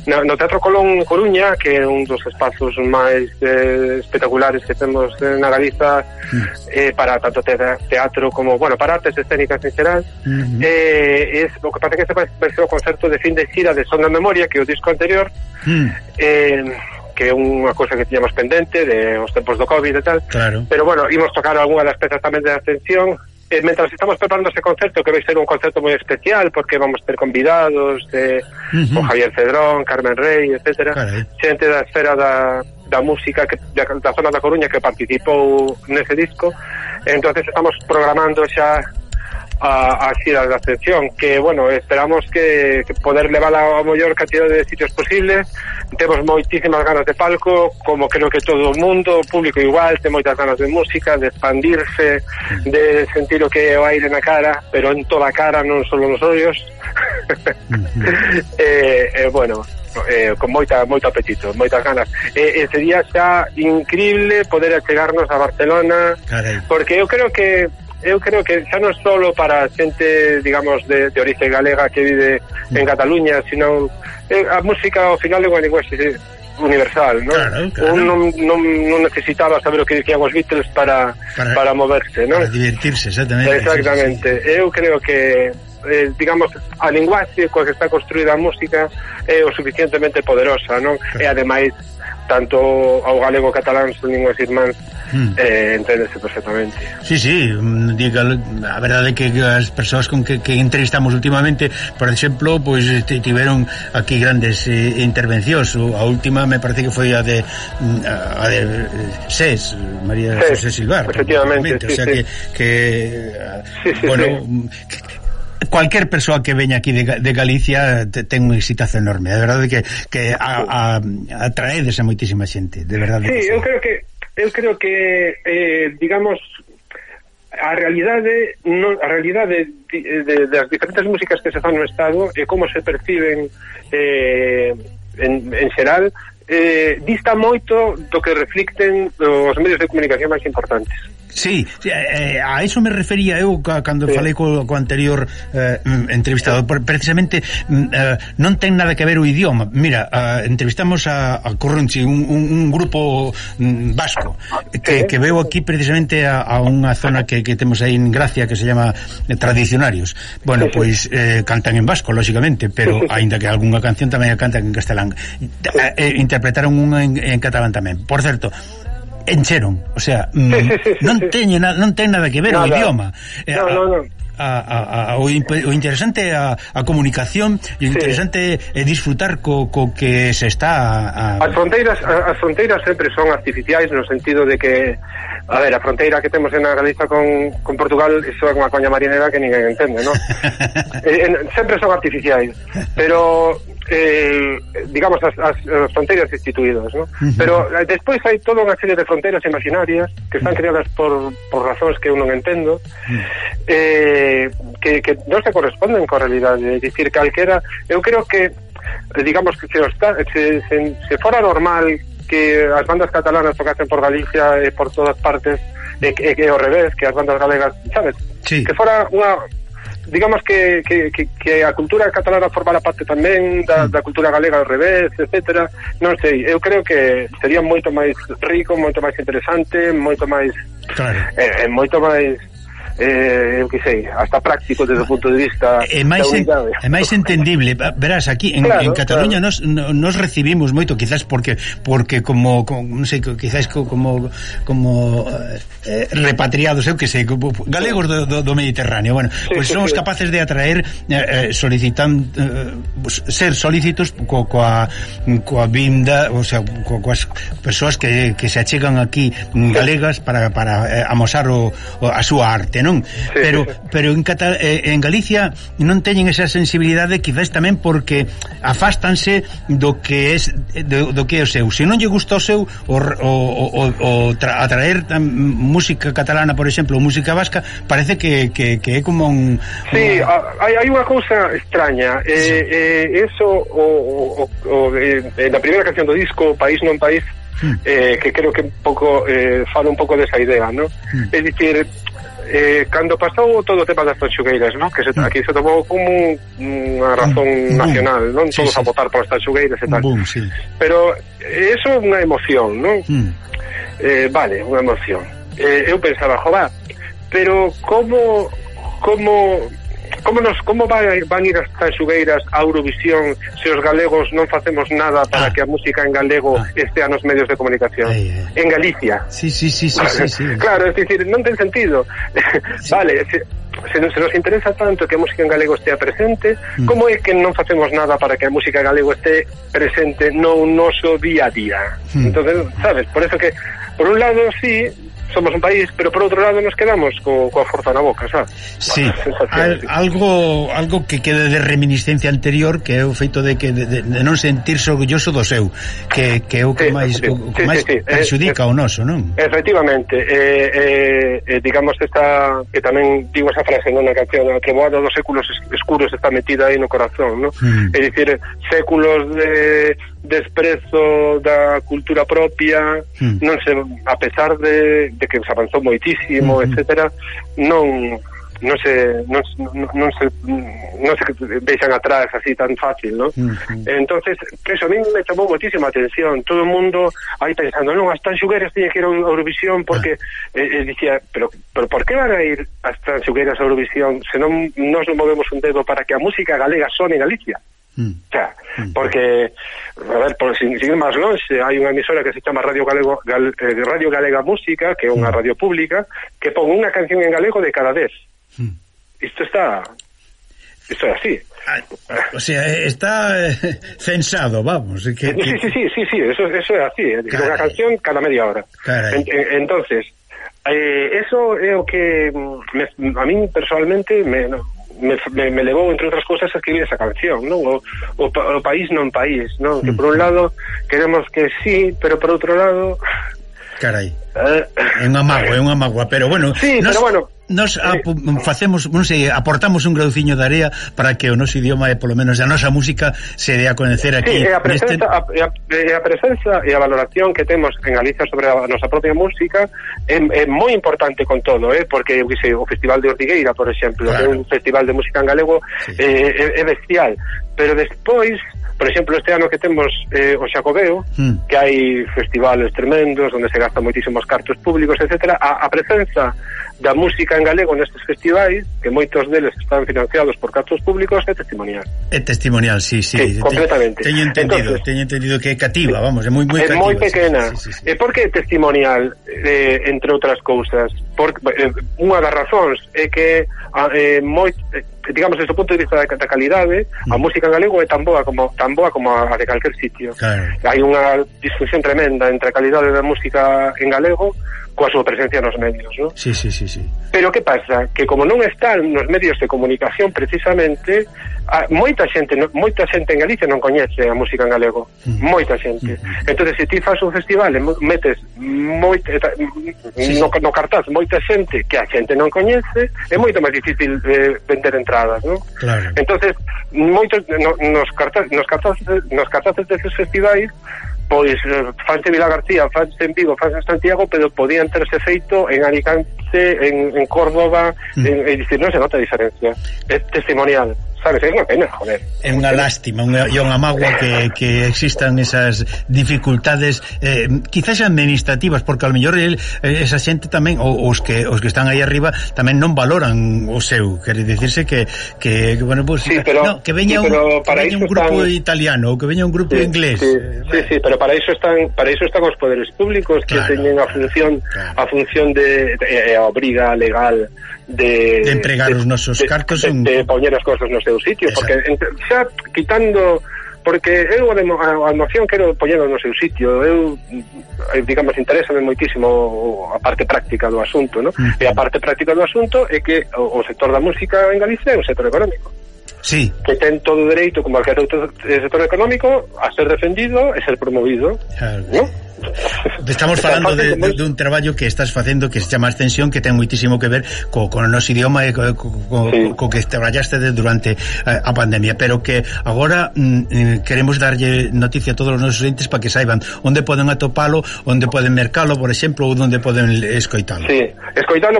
no Teatro Colón Coruña, que é un dos espazos máis espectaculares que temos na Galiza, para tanto teatro como, bueno, para artes escénicas en xeral. O que pasa que este vai ser o concerto de fin de xira de Son da Memoria, que é o disco anterior, que é unha cosa que tiñamos pendente de os tempos do COVID e tal, claro. Pero bueno, imos tocar algunha das pezas tamén de Ascensión. Mentras estamos preparando ese concerto, que vai ser un concerto moi especial, porque vamos ter convidados con Javier Cedrón, Carmen Rey, etcétera, xente da esfera da música da zona da Coruña que participou nese disco. Entonces estamos programando xa a xira da Ascensión, que, bueno, esperamos que poder levar a maior cantidad de sitios posibles. Temos moitísimas ganas de palco, como creo que todo o mundo, o público igual, ten moitas ganas de música, de expandirse, de sentir o que é o aire na cara, pero en toda a cara, non só nos ollos. Bueno, con moito apetito, moitas ganas. Sería xa increíble poder achegarnos a Barcelona, porque eu creo que xa non solo para xente, digamos, de orixe galega que vive en Cataluña, sino a música ao final é unha linguaxe universal, ¿no? Claro. Non necesitaba saber o que dicían os Beatles para moverse, ¿no? Para divertirse, exactamente. Exactamente. Sí. Eu creo que digamos, a linguaxe coa que está construída a música é o suficientemente poderosa, non? E ademais tanto ao galego e catalán son linguas irmáns, enténdese perfectamente. Sí, diga, a verdade é que as persoas con que entrevistamos últimamente, por exemplo, pois tiveron aquí grandes intervencións. A última me parece que foi a de SES, María José Silvar, efectivamente, o sea que bueno, cualquier persoa que veña aquí de Galicia ten un exitazo enorme. De verdade que atraedes a moitísima xente, de verdade. Sí, eu creo que digamos, a realidade das diferentes músicas que se fan no Estado e como se perciben en xeral, dista moito do que reflicten os medios de comunicación máis importantes. Sí, a eso me refería eu cando falei co anterior entrevistado. Precisamente non ten nada que ver o idioma. Mira, entrevistamos a Corronchi, un grupo vasco que veo aquí precisamente a unha zona que temos aí en Gracia que se llama Tradicionarios. Bueno, pois cantan en vasco, lógicamente, pero aínda que algunha canción tamén a cantan en castelán. Interpretaron unha en catalán tamén. Por certo, encheron, o sea, non ten nada que ver o idioma. O interesante a comunicación, e o interesante é disfrutar co que se está As fronteiras sempre son artificiais, no sentido de que, a ver, a fronteira que temos en Galiza con Portugal, iso é unha coña marinera que ninguén entende, non? Sempre son artificiais, pero digamos as fronteiras instituídas, ¿no? Pero despois hai toda unha serie de fronteiras imaginarias que están creadas por razóns que eu non entendo, que non se corresponden coa realidade. É dicir, calquera, eu creo que digamos que se fora normal que as bandas catalanas tocasen por Galicia e por todas partes, e ao revés, que as bandas galegas, sabes? Sí. Que fora unha, digamos que a cultura catalana formara parte tamén da cultura galega ao revés, etcétera. Non sei, eu creo que sería moito máis rico, moito máis interesante, moito máis moito máis eu que sei, hasta práctico desde o punto de vista é máis entendible. Verás, aquí en Cataluña nos recibimos moito, quizás porque como non sei, quizás como repatriados, eu que sei, galegos do Mediterráneo. Bueno, pois somos capaces de atraer ser solícitos coa vinda, o sea, coas persoas que se achegan aquí galegas para amosar a súa arte, non? Pero en Galicia non teñen esa sensibilidade, quizás tamén porque afástanse do que é o seu. Se non lle gusta o seu atraer música catalana, por exemplo, ou música vasca, parece que é como un... Sí, hai unha cousa extraña. Eso na primeira canción do disco, País non país, que creo que un pouco fala un pouco desa idea, ¿no? É dicir, cando pasou todo o tema das tanxugueiras, ¿no? Que aquí se tomou como unha razón nacional, non? Todos a votar polas tanxugueiras e tal. Pero eso é unha emoción, non? Vale, unha emoción. Eu pensaba, jová, pero como van ir as tanxugueiras a Eurovisión se os galegos non facemos nada para que a música en galego estea nos medios de comunicación? En Galicia. Sí. Claro, es decir, non ten sentido. Vale, se nos interesa tanto que a música en galego estea presente, como é que non facemos nada para que a música en galego estea presente no noso día a día? Entonces, sabes, por eso que por un lado sí somos un país, pero por outro lado nos quedamos coa forza na boca, sabes? Sí, algo que quede de reminiscencia anterior, que é o feito de non sentirse orgulloso do seu, que é o que máis perxudica o noso, non? Efectivamente, digamos esta, que tamén digo esa frase na canción, a treboada dos séculos escuros está metida aí no corazón, non? É dicir, séculos de desprezo da cultura propia, non sei, a pesar de que se avanzou moitísimo, etcétera, non non se deixan atrás así tan fácil, ¿no? Entonces, eso a mí me chamou moitísima atención. Todo o mundo aí pensando, non, as tanxugueras tiñen que ir a Eurovisión porque dicía, pero por que van a ir as tanxugueras a Eurovisión se non nos movemos un dedo para que a música galega sone en Galicia? O sea, porque a ver, por sin ir máis longe, hai unha emisora que se chama Radio Galega Música, que é unha radio pública, que pon unha canción en galego de cada 10. Isto é así. O sea, está censado, vamos. Sí, eso é así. Unha canción cada media hora. Entonces, eso é o que a mí personalmente me levou, entre outras cousas, a escribir esa canción, non? O país non país, non? Que por un lado queremos que sí, pero por outro lado... Carai, é unha mágoa, pero bueno... Sí, pero bueno... Nos facemos, non sei, aportamos un grauciño de area para que o noso idioma e polo menos a nosa música se dé a coñecer aquí. Sí, a presenza e a valoración que temos en Galicia sobre a nosa propia música é moi importante con todo, porque o Festival de Ortigueira, por exemplo, claro, é un festival de música en galego, sí, é bestial, pero despois, por exemplo, este ano que temos o Xacobeo, que hai festivales tremendos onde se gastan moitísimos cartos públicos, etcétera, a presenza da música en galego nestes festivais, que moitos deles están financiados por cartos públicos, é testimonial. É testimonial, sí, completamente. Teño entendido que é cativa, vamos, é moi cativa. É moi pequena. Sí. E por que é testimonial, entre outras cousas? Unha das razóns é que digamos, desde o punto de vista da calidade, a música en galego é tan boa como a de calquer sitio. Claro. Hai unha disfunción tremenda entre a calidade da música en galego coa súa presencia nos medios, ¿no? Sí. Pero que pasa? Que como non están nos medios de comunicación precisamente, moita xente en Galicia non coñece a música en galego, moita xente. Entonces, se ti fas un festival e metes no cartaz moita xente que a xente non coñece, é moito máis difícil vender entradas, ¿no? Claro. Entonces, moitos nos cartazes desses festivais, pois fanse en Vila García, fanse en Vigo, fanse en Santiago, pero podían terse feito en Alicante, en Córdoba, e dicir, non se nota a diferencia. É testimonial, sabes? É unha pena, joder. É unha lástima, e unha mágoa que existan esas dificultades, quizás administrativas, porque ao mellor esa xente tamén, os que están aí arriba, tamén non valoran o seu, quere dicirse que bueno, pues, sí, pero, que veña un grupo italiano, ou que veña un grupo inglés. Sí, pero para iso están os poderes públicos, que teñen a función de a obriga legal de empregar os nosos cartos, de poñer as cousas no seu sitio. Exacto. Porque xa quitando, porque eu a noción quero poñerlo no seu sitio. Eu, digamos, interésame moitísimo a parte práctica do asunto, ¿no? E a parte práctica do asunto é que o sector da música en Galicia é un sector económico. Sí. Que ten todo o dereito, como cualquier outro sector económico, a ser defendido e ser promovido, ¿no? Estamos falando dun traballo que estás facendo que se chama Ascensión, que ten moitísimo que ver co noso idioma e co que traballaste durante a pandemia, pero que agora queremos darlle noticia a todos os nosos entes para que saiban onde poden atopalo, onde poden mercalo, por exemplo, ou onde poden escoitalo. Sí,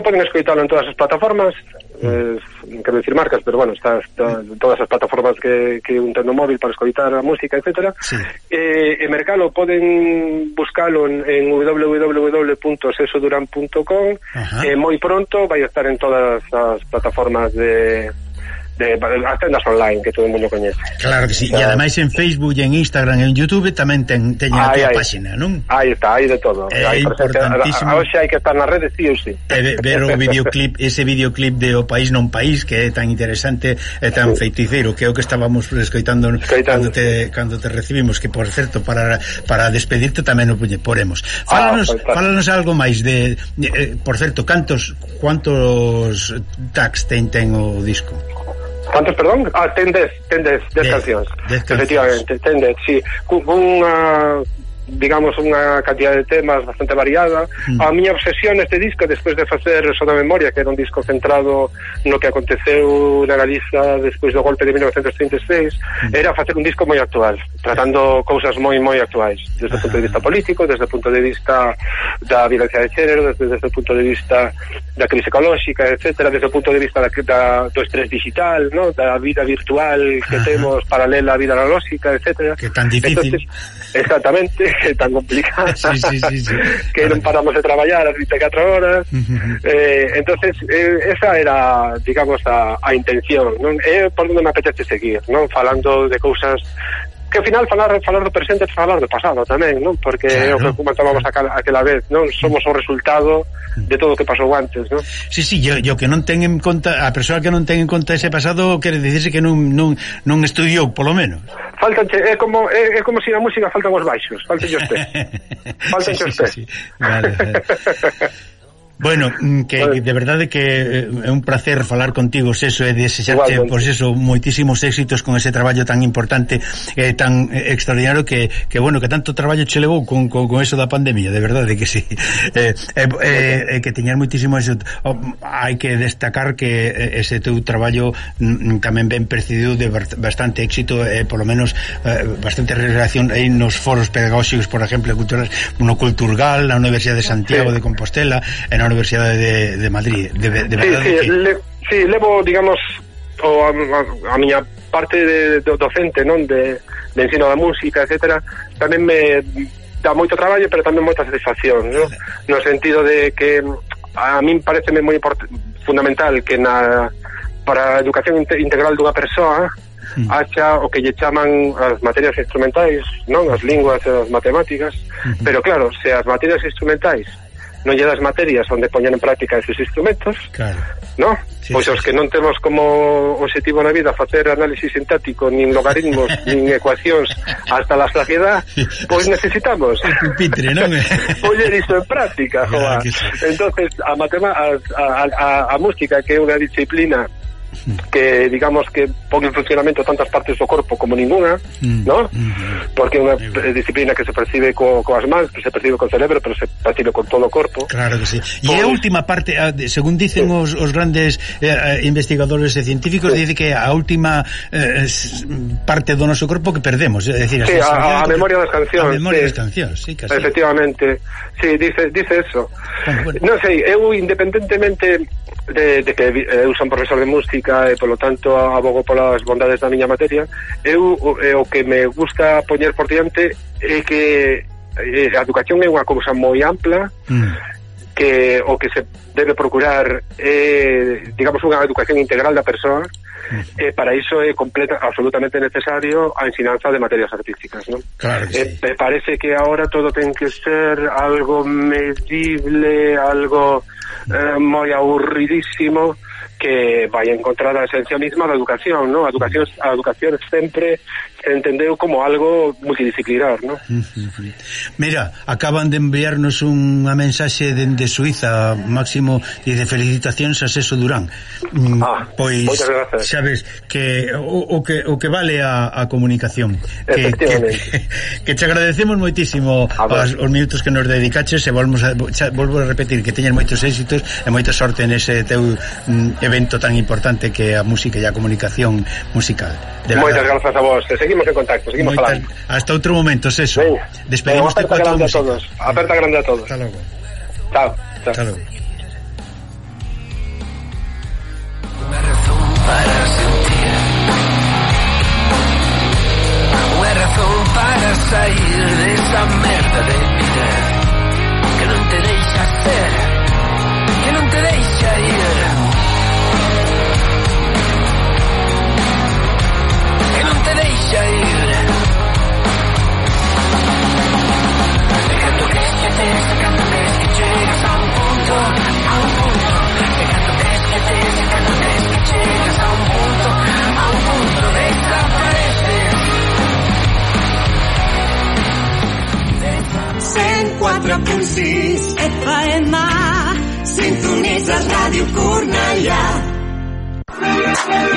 poden escoitalo en todas as plataformas, quero dicir marcas, pero bueno, está todas as plataformas que un ten no móvil para escoitar a música, etcétera. Sí. E mercalo poden buscalo en www.sesoduran.com, e moi pronto vai estar en todas as plataformas de as tendas online que todo o mundo coñece. Claro que sí, e ademais en Facebook e en Instagram e en YouTube tamén teñen a túa página, non? Aí está, aí de todo. É importantísimo. Hoxe hai que estar nas redes, sí ou sí. Ver o videoclip, ese videoclip de O País Non País, que é tan interesante e tan feiticeiro, que é o que estábamos escoitando cando te recibimos, que por certo, para despedirte tamén o poremos. Fálanos algo máis de por certo, cantos tags ten o disco? ¿Cuántos, perdón? Ten 10 cancións. Efectivamente, ten 10, sí. digamos, unha cantidad de temas bastante variada. A miña obsesión neste disco, despois de facer Soda Memoria, que era un disco centrado no que aconteceu na Galiza despois do golpe de 1936, era facer un disco moi actual, tratando cousas moi actuais, desde o punto de vista político, desde o punto de vista da violencia de xénero, desde o punto de vista da crise ecolóxica, etcétera, desde o punto de vista do estrés digital, ¿no? Da vida virtual que temos paralela á vida analóxica, etcétera. Que tan difícil. Entonces, exactamente, que tan complicada. Sí. Que non paramos de traballar as 24 horas. Entonces, esa era, digamos, a intención, non? É por onde me apetece seguir, non? Falando de cousas que ao final falar do presente é falar do pasado tamén, non? Porque é o que comentábamos aquela vez, non? Somos o resultado de todo o que pasou antes, non? Sí, yo que non ten en conta, a persoa que non ten en conta ese pasado quere dicirse que non estudiou, polo menos. Faltanche, é como se na música faltan os baixos, faltan os pés. Faltan os pés. Sí. Vale. Bueno, que de verdade que é un placer falar contigo, Seso, e desexarte, por eso, moitísimos éxitos con ese traballo tan importante e tan extraordinario que bueno, que tanto traballo che levou con eso da pandemia, de verdade que sí. Que teñas moitísimo éxito. Hai que destacar que ese teu traballo tamén ben presidido de bastante éxito, polo menos bastante realización aí nos foros pedagóxicos, por exemplo, culturales, no Culturgal, na Universidade de Santiago de Compostela, e na Universidade de Madrid, de verdade que... levo, digamos, a miña parte de docente, non, de ensino da música, etcétera, tamén me dá moito traballo, pero tamén moita satisfacción, non? No sentido de que a min pareceme moi fundamental que para a educación integral dunha persoa haxa o que lle chaman as materias instrumentais, non? As linguas e as matemáticas, pero claro, se as materias instrumentais non lle das materias onde poñer en práctica esos instrumentos, claro, ¿no? Pois os que non temos como objetivo na vida facer análisis sintático, nin logaritmos, nin ecuacións hasta la saciedad, pois necesitamos pupitre, non? poñer iso en práctica, joa. Entonces, a música, que é unha disciplina que, digamos, que pon en funcionamento tantas partes do corpo como ninguna, ¿no? Porque é unha disciplina que se percibe coas mans, que se percibe co cerebro, pero se percibe con todo o corpo. Claro que sí. E a última parte, según dicen os grandes investigadores e científicos, dice que a última parte do noso corpo que perdemos, é dicir, a memoria das cancións. A memoria das cancións, sí, casi. Efectivamente. Sí, dice eso. Bueno. Non sei, eu independentemente de que eu son profesor de música e polo tanto abogo polas bondades da miña materia, eu o que me gusta poñer por diante é que a educación é unha cousa moi ampla, que o que se debe procurar é, digamos, unha educación integral da persoa, e para iso é absolutamente necesario a ensinanza de materias artísticas, non? Claro que sí. Me parece que ahora todo ten que ser algo medible, algo moi aburridísimo, que vai encontrar a esencia mesma da educación, ¿no? A educación sempre se entendeu como algo multidisciplinar, ¿no? Mira, acaban de enviarnos unha mensaxe dende Suiza, Máximo, e de felicitacións a Seso Durán. Pois, sabes, que o que vale a comunicación. Que te agradecemos moitísimo os minutos que nos dedicaches, e volvo a repetir que teñas moitos éxitos e moita sorte nese teu evento tan importante que é a música e a comunicación musical. Moitas grazas a vos, seguimos en contacto, seguimos falando. Hasta outro momento, Seso. Despedimos aperta grande a todos. Aperta grande a todos. Hasta logo. Chao. Hasta logo. Una razón para sentir, una razón para sair de esa merda de vida que non te deixa ser, que non te deixa ir, que non te deixa ir. Dejando que esquetes, dejando que llegas a un punto, dejando que esquetes, dejando que llegas a un punto, desapareces. 104.6 FM, sintonitzes Ràdio Cornellà.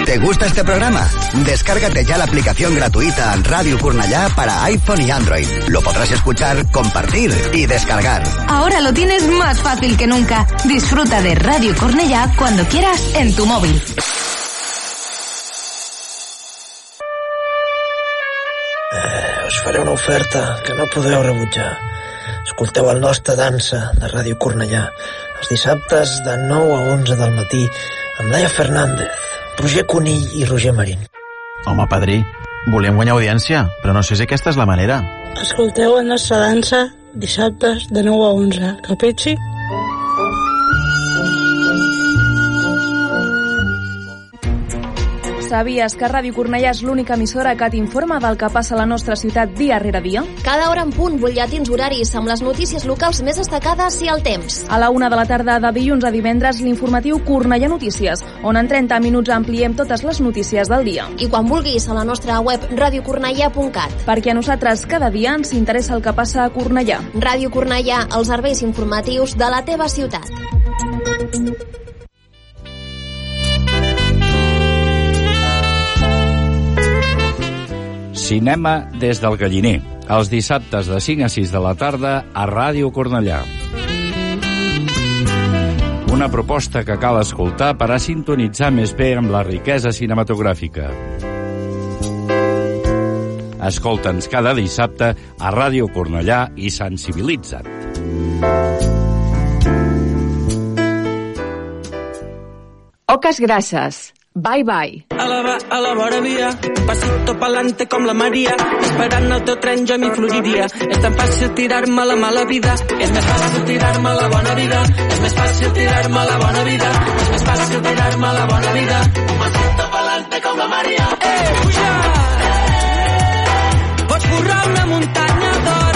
¿Te gusta este programa? Descárgate ya la aplicación gratuita Radio Cornellà para iPhone y Android. Lo podrás escuchar, compartir y descargar. Ahora lo tienes más fácil que nunca. Disfruta de Radio Cornellà cuando quieras en tu móvil. Us faré una oferta que no podeu rebutjar. Escolteu el nostre dansa de Ràdio Cornellà els dissabtes de 9 a 11 del matí amb Laia Fernández, Roger Conill i Roger Marín. Home, padrí, volem guanyar audiència, però no sé si aquesta és la manera. Escolteu la nostra dansa dissabtes de 9 a 11, capitxi? Sabies que Ràdio Cornellà és l'única emissora que t'informa del que passa a la nostra ciutat dia rere dia? Cada hora en punt, butlletins horaris amb les notícies locals més destacades i el temps. A la 1 de la tarda de dilluns a divendres, l'informatiu Cornellà Notícies, on en 30 minuts ampliem totes les notícies del dia. I quan vulguis, a la nostra web radiocornellà.cat. Perquè a nosaltres cada dia ens interessa el que passa a Cornellà. Ràdio Cornellà, els serveis informatius de la teva ciutat. Cinema des del Galliner, els dissabtes de 5 a 6 de la tarda a Ràdio Cornellà. Una proposta que cal escoltar per a sintonitzar més bé amb la riquesa cinematogràfica. Escolta'ns cada dissabte a Ràdio Cornellà i sensibilitza't. Oques grasses. Bye, bye. A la vora via, pasito pa'lante com la Maria, esperant el teu tren jo m'hi floriria. És tan fàcil tirar-me a la mala vida, és més fàcil tirar-me a la bona vida, és més fàcil tirar-me a la bona vida, és més fàcil tirar-me a la bona vida. Pasito pa'lante com la Maria. Puja! Pots borrar una muntanya d'or.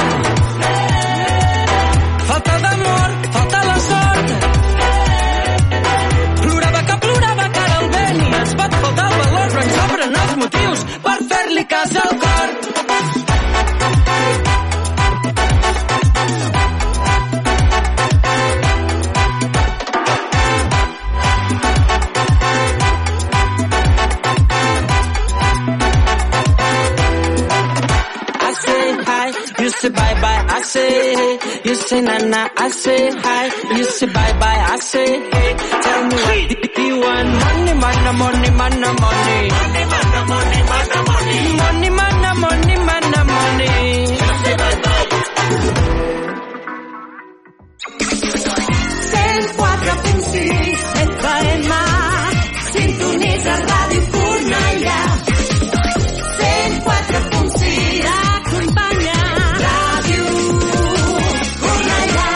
Falta d'amor, falta la sort. Plorava que ara el vent i ens pot faltar el valor, però ens sobren els motius per fer-li cas al cor. I say hi, you say bye-bye, I say hey. You say na-na, I say hi. You say bye-bye, I say hey. Tell me what do you want? Money, mana, money, mana, money. Money, mana, money, mana, money. Money, mana, money, mana, money. You say bye-bye. 104.6 FM. Sintonitza Ràdio Cornellà. 104.6 acompanya Ràdio Cornellà.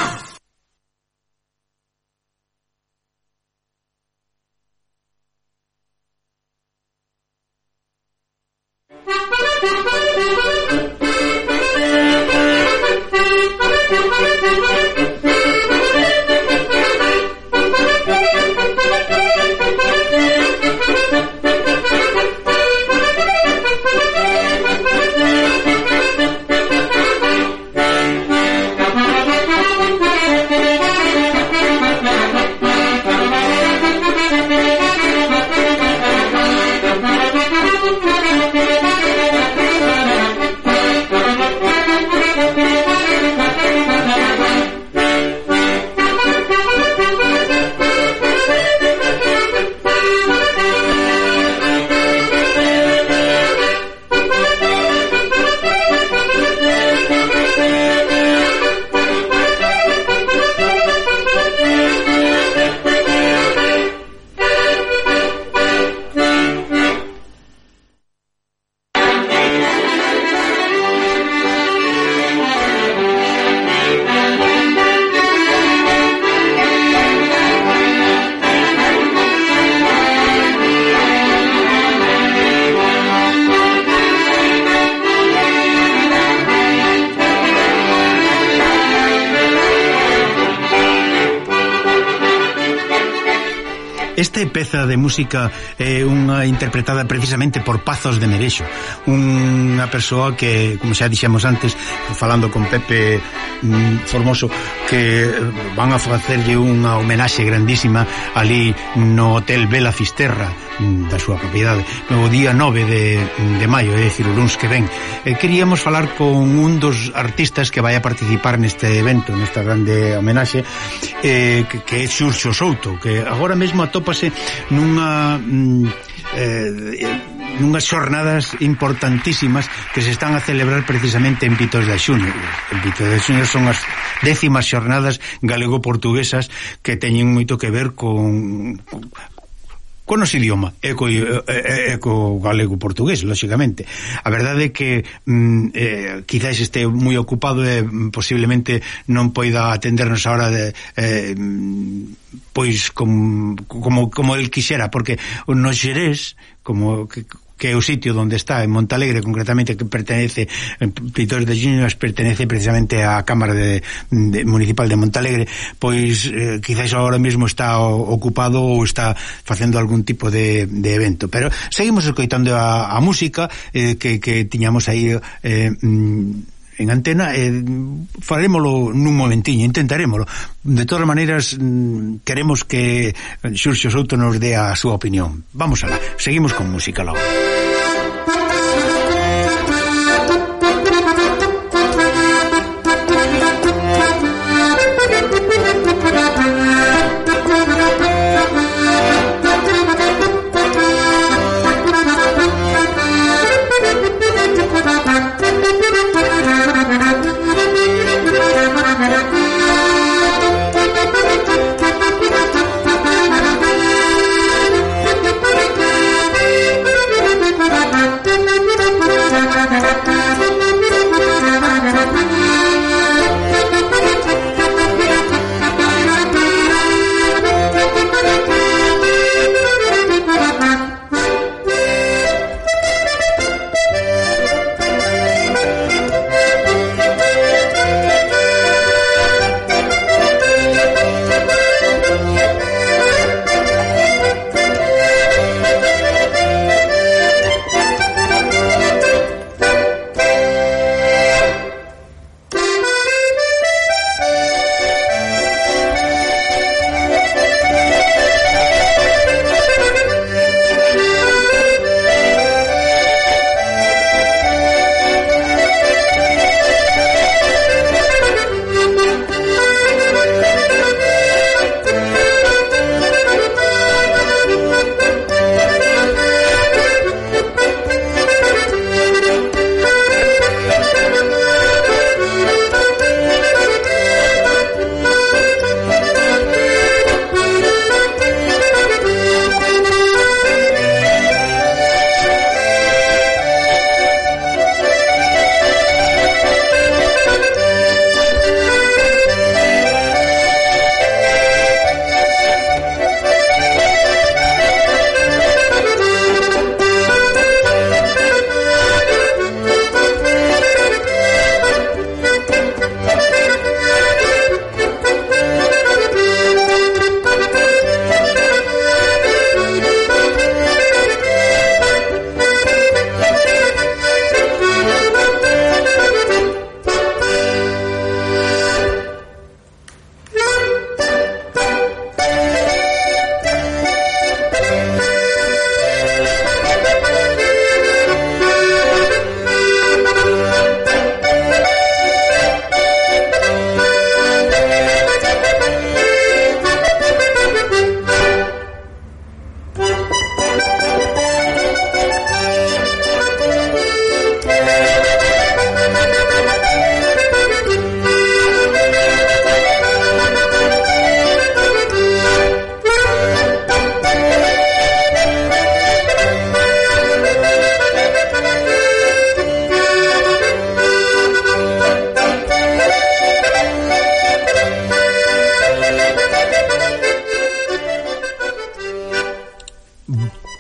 Esta peza de música é unha interpretada precisamente por Pazos de Merexo, unha persoa que, como xa dixemos antes, falando con Pepe Formoso, que van a facerlle unha homenaxe grandísima ali no Hotel Bela Fisterra da súa propiedade no día 9 de maio, é dicir, o luns que ven. Queríamos falar con un dos artistas que vai a participar neste evento, nesta grande homenaxe, que é Xurxo Souto, que agora mesmo atópase nunhas xornadas importantísimas que se están a celebrar precisamente en Pitos de Xunio. En Pitos de Xunio son as 10ª xornadas galego-portuguesas que teñen moito que ver con os idioma e co galego-portugués, lóxicamente. A verdade é que quizás este moi ocupado e posiblemente non poida atendernos ahora pois como el quixera, porque nos Xerés, que é o sitio onde está, en Montalegre concretamente, que pertenece, Pitos de Xunio pertenece precisamente á Cámara Municipal de Montalegre, pois quizás agora mesmo está ocupado ou está facendo algún tipo de evento, pero seguimos escoitando a música que tiñamos aí en antena, farémolo nun momentiño, intentarémolo. De todas maneiras, queremos que Xurxo Souto nos dé a súa opinión. Vamos alá, seguimos con música logo.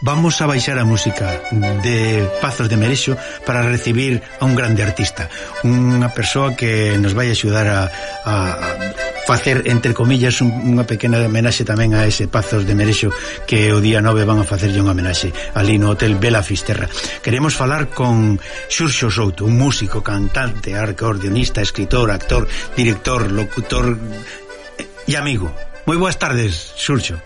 Vamos a baixar a música de Pazos de Merexo para recibir a un grande artista, unha persoa que nos vai axudar a facer, entre comillas, unha pequena homenaxe tamén a ese Pazos de Merexo, que o día 9 van a facerlle unha homenaxe ali no Hotel Bela Fisterra. Queremos falar con Xurxo Souto, un músico, cantante, acordeonista, escritor, actor, director, locutor e amigo. Moi boas tardes, Xurxo.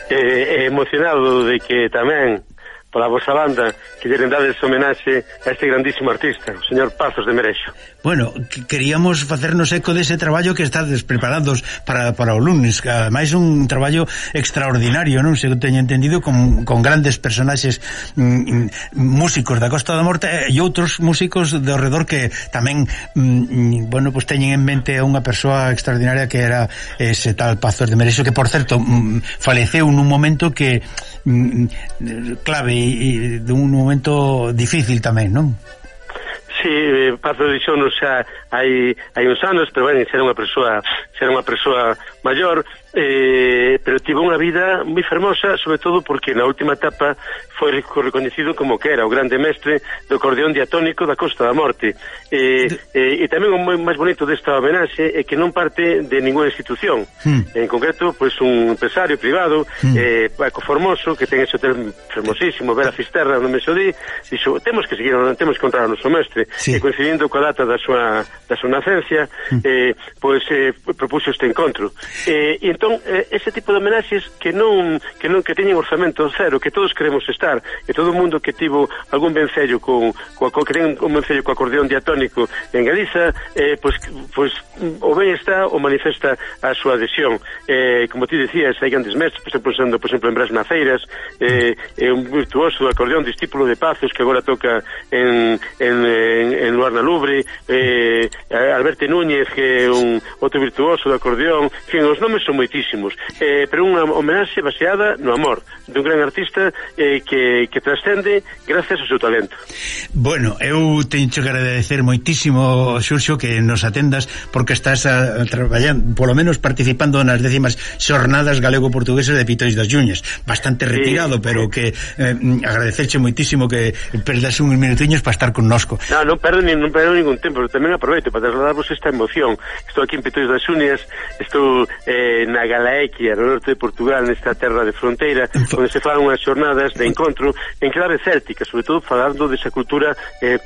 emocionado de que tamén pola vosa banda que lle dades homenaxe a este grandísimo artista, o señor Pazos de Merexo. Bueno, queríamos facernos eco dese traballo que estades preparados para o lunes, que ademais un traballo extraordinario, non? Se teño entendido, con grandes personaxes músicos da Costa da Morte e outros músicos de ao redor que tamén bueno, pues teñen en mente a unha persoa extraordinaria que era ese tal Pazos de Merexo, que por certo faleceu nun momento que clave e dun momento difícil tamén, non? Sí, Pazos dixonos xa hai uns anos, pero bueno, era unha persoa maior, pero tivo unha vida moi fermosa, sobre todo porque na última etapa foi recoñecido como que era o grande mestre do acordeón diatónico da Costa da Morte. E tamén o máis bonito desta homenaxe é que non parte de ninguna institución. En concreto, pois un empresario privado, Paco Formoso, que ten ese hotel fermosísimo, Vera Fisterra, no Mesodí, dixo, temos que encontrar o noso mestre. E coincidindo coa data da súa nacencia, pois propuxo este encontro. E entón, ese tipo de homenaxes que teñen orzamento cero, que todos queremos estar, e todo o mundo que tivo algún vencello que ten un vencello co acordeón diatónico en Galiza, pois o ben está o manifesta a súa adhesión. Como ti decías, hai grandes mestres, por exemplo, en Brás Maceiras, un virtuoso do acordeón, discípulo de Pazos, que agora toca en Luarna Lubre, Alberto Núñez, que é un outro virtuoso do acordeón. En fin, os nomes son moitísimos, pero unha homenaxe baseada no amor dun gran artista que trascende gracias ao seu talento. Bueno, eu teño que agradecer moitísimo, Xurxo, que nos atendas, porque estás traballando, polo menos participando nas 10ª xornadas galego-portuguesas de Pitois das Yuñas, bastante retirado, pero que agradecerche moitísimo que perdas uns minutiños para estar connosco. Non perdo ningún tempo, pero tamén aproveito para trasladarvos esta emoción. Estou aquí en Pitois das Yuñas, estou na Galaequia, no norte de Portugal, nesta terra de fronteira, onde se falan unhas xornadas de encontro en clave céltica, sobre todo falando desa cultura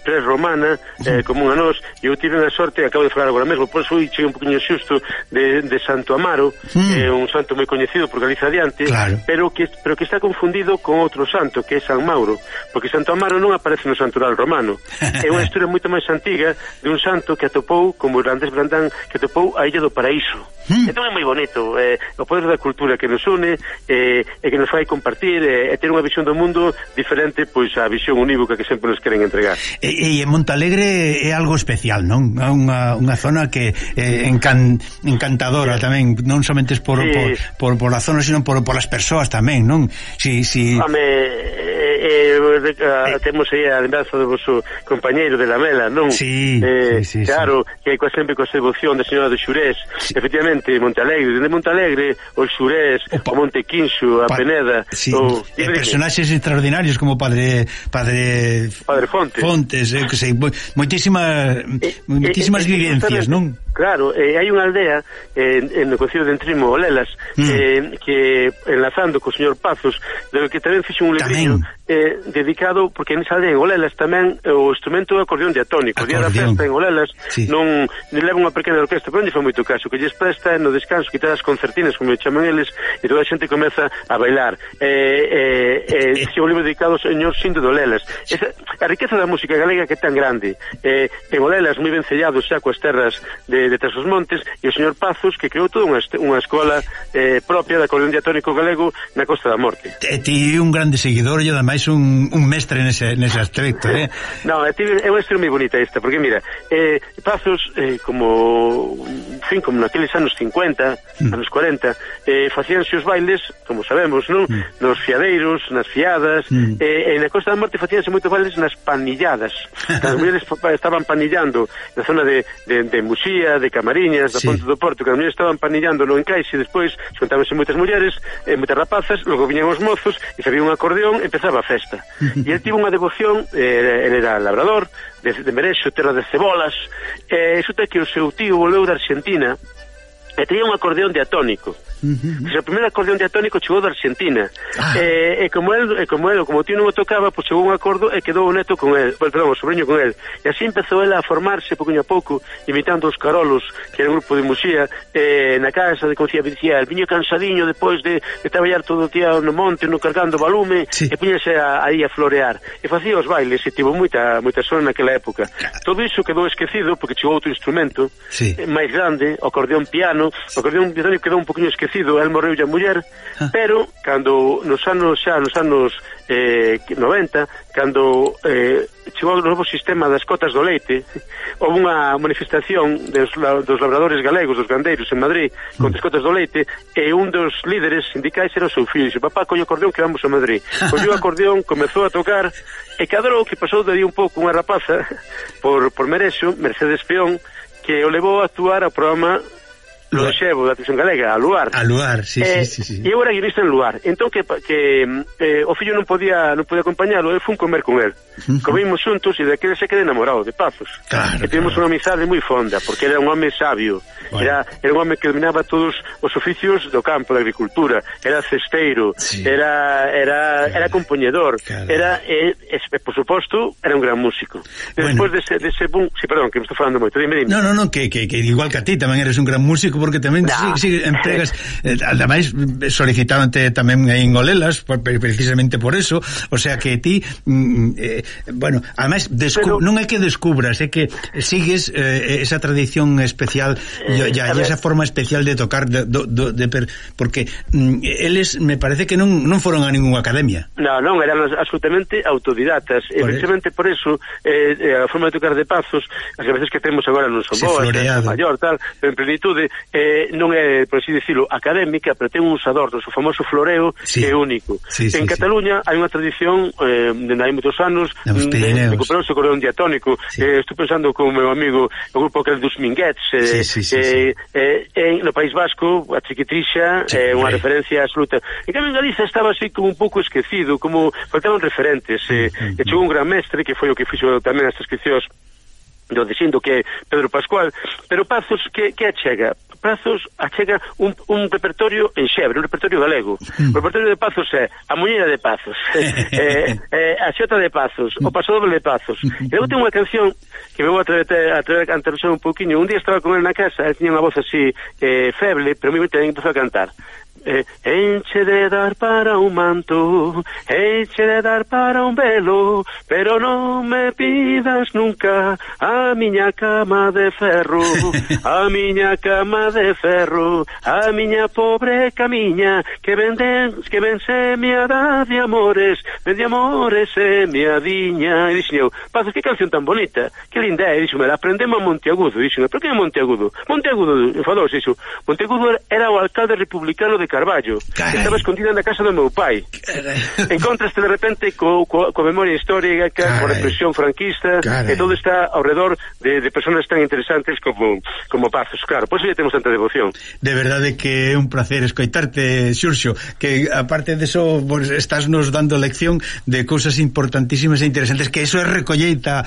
pré-romana, común a nós. E eu tive a sorte, acabo de falar agora mesmo, por eso cheguei un poquinho xusto de Santo Amaro, un santo moi coñecido por Galiza adiante, pero que está confundido con outro santo, que é San Mauro, porque Santo Amaro non aparece no santural romano. É unha historia moito máis antiga de un santo que atopou, como Irlandés Brandán, que atopou a Illa do Paraíso. Entón é moi bonito, o poder da cultura que nos une, e que nos fai compartir, e ter unha visión do mundo diferente pois a visión unívoca que sempre nos queren entregar. E en Montalegre é algo especial, non? Unha zona que encantadora tamén, non somente por a zona, sino por as persoas tamén, non? Temos aí a lembranza do vosso compañeiro de Lamela, non? Claro, que sempre coa devoción da señora de Xurés, efectivamente, Montalegre, dende Montalegre, o Xurés, o Monte Quinxo, a Peneda, personaxes extraordinarios como Padre Fontes, que sei, moitísimas vivencias, non? Claro, hai unha aldea no concello de Entrimo, Olelas, que enlazando co señor Pazos, do que tamén fixe un librillo dedicado, porque nesa aldea en Olelas tamén o instrumento é acordeón diatónico. O día da festa en Olelas non leva unha pequena orquesta, pero non lle foi moito caso, que lles presta no descanso, quitar as concertinas, como chaman eles, e toda a xente comeza a bailar. Fixe un libro dedicado ao señor Sindo de Olelas. A riqueza da música galega que é tan grande, en Olelas moi vencellados xa coas terras de Tras os Montes, e o señor Pazos, que creou toda unha escola propia de acordeón diatónico galego na Costa da Morte. E ti un grande seguidor e ademais un mestre nese aspecto, Non, é unha historia moi bonita esta, porque mira, Pazos, como naqueles anos 50, anos 40, facíanse os bailes, como sabemos, non? Nos fiadeiros, nas fiadas, e na Costa da Morte facíanse moitos bailes nas panilladas. As mulleres estaban panillando na zona de Muxía, de Camariñas, da Ponte do Porto, que as mulleres estaban panillando no encaixe, despois xuntábanse moitas mulleres, moitas rapazas, logo viñan os mozos, e se había un acordeón, empezaba a festa. E ele tivo unha devoción, ele era labrador, de Merexo, terra de cebolas, e resulta que o seu tío volveu da Argentina, e tenía un acordeón diatónico. O primeiro acordeón diatónico chegou da Argentina. E como o tío non o tocaba, pois chegou un acordo e quedou o neto con el, perdón, o sobrinho con el. E así empezou ela a formarse pouquinho a pouco, imitando os Carolos, que era un grupo de Muxía, na casa de Concía, el viño cansadiño depois de traballar todo o día no monte, no cargando balume, e puñase aí a florear. E facía os bailes, e tivo moita son naquela época. Todo iso quedou esquecido, porque chegou outro instrumento máis grande, o acordeón piano. O acordeón diatónico quedou un poquinho esquecido, el morreu a muller, pero cando nos anos 90, cando chegou o novo sistema das cotas do leite, houve unha manifestación dos labradores galegos, dos gandeiros en Madrid, contra as cotas do leite, e un dos líderes sindicais era o seu filho. Dixe, papá, colle o acordeón que vamos a Madrid. Colleu o acordeón, comezou a tocar, e cadrou que pasou de aí un pouco unha rapaza por Merexo, Mercedes Peón, que o levou a actuar ao programa Lo Xevo da televisión galega, a Luar. A Luar, sí. E eu era guionista en Luar. Entón que o fillo non podía acompañalo, eu fui comer con el. Comimos xuntos e daquele se quedé enamorado de Pazos. E tivemos unha amizade moi fonda, porque era un home sabio. Era un home que dominaba todos os oficios do campo, da agricultura. Era cesteiro, era compoñedor, por suposto, era un gran músico. Despois dese boom... Sí, perdón, que me estou falando moito. Dime. No, que igual que a ti tamén eres un gran músico, porque tamén empregas, ademais solicitándote tamén en Olelas precisamente por eso, o sea que ti ademais non é que descubras, é que sigues esa tradición especial e esa forma especial de tocar porque eles me parece que non foron a ninguna academia. Non, eran absolutamente autodidatas, e precisamente por eso a forma de tocar de Pazos, as veces que temos agora non son boas, maior, tal, pero en plenitude non é, por así dicilo, académica, pero ten uns adornos, o famoso floreo que é único. En Cataluña hai unha tradición dende hai moitos anos de recuperar o acordeón diatónico. Estou pensando con o meu amigo o grupo que é dos Minguets, no País Vasco a Chiquitrixa é unha referencia absoluta. En cambio en Galiza estaba así como un pouco esquecido, como faltaban referentes, e chegou un gran mestre que foi o que fixo tamén as transcripcións do dicindo que é Pedro Pascual, pero Pazos que achega? Pazos achega un repertorio en xebre, un repertorio galego. O repertorio de Pazos é a Muñeira de Pazos, a Xota de Pazos, o Pasodoble de Pazos. E logo ten unha canción que me vou a traer a cantar un pouquinho. Un día estaba con él na casa, él tiña unha voz así feble, pero moi ben empezou a cantar. Enche de dar para un manto, enche de dar para un velo, pero non me pidas nunca a miña cama de ferro, a miña cama de ferro, a miña pobre camiña, que vence miada de amores e mia diña. E dixen eu, Pazos, que canción tan bonita, que linda é. E dixen, aprendemos a Monteagudo. Dixen, pero que é Monteagudo? Monteagudo, enfadouse iso. Monteagudo era o alcalde republicano de Carballo, que estaba escondida na casa do meu pai. Encontraste de repente coa memoria histórica, coa represión franquista, e todo está ao redor de personas tan interesantes como Pazos. Claro, por eso ya temos tanta devoción. De verdade que é un placer escoitarte, Xurxo, que aparte de eso estás nos dando lección de cousas importantísimas e interesantes, que eso é recolleita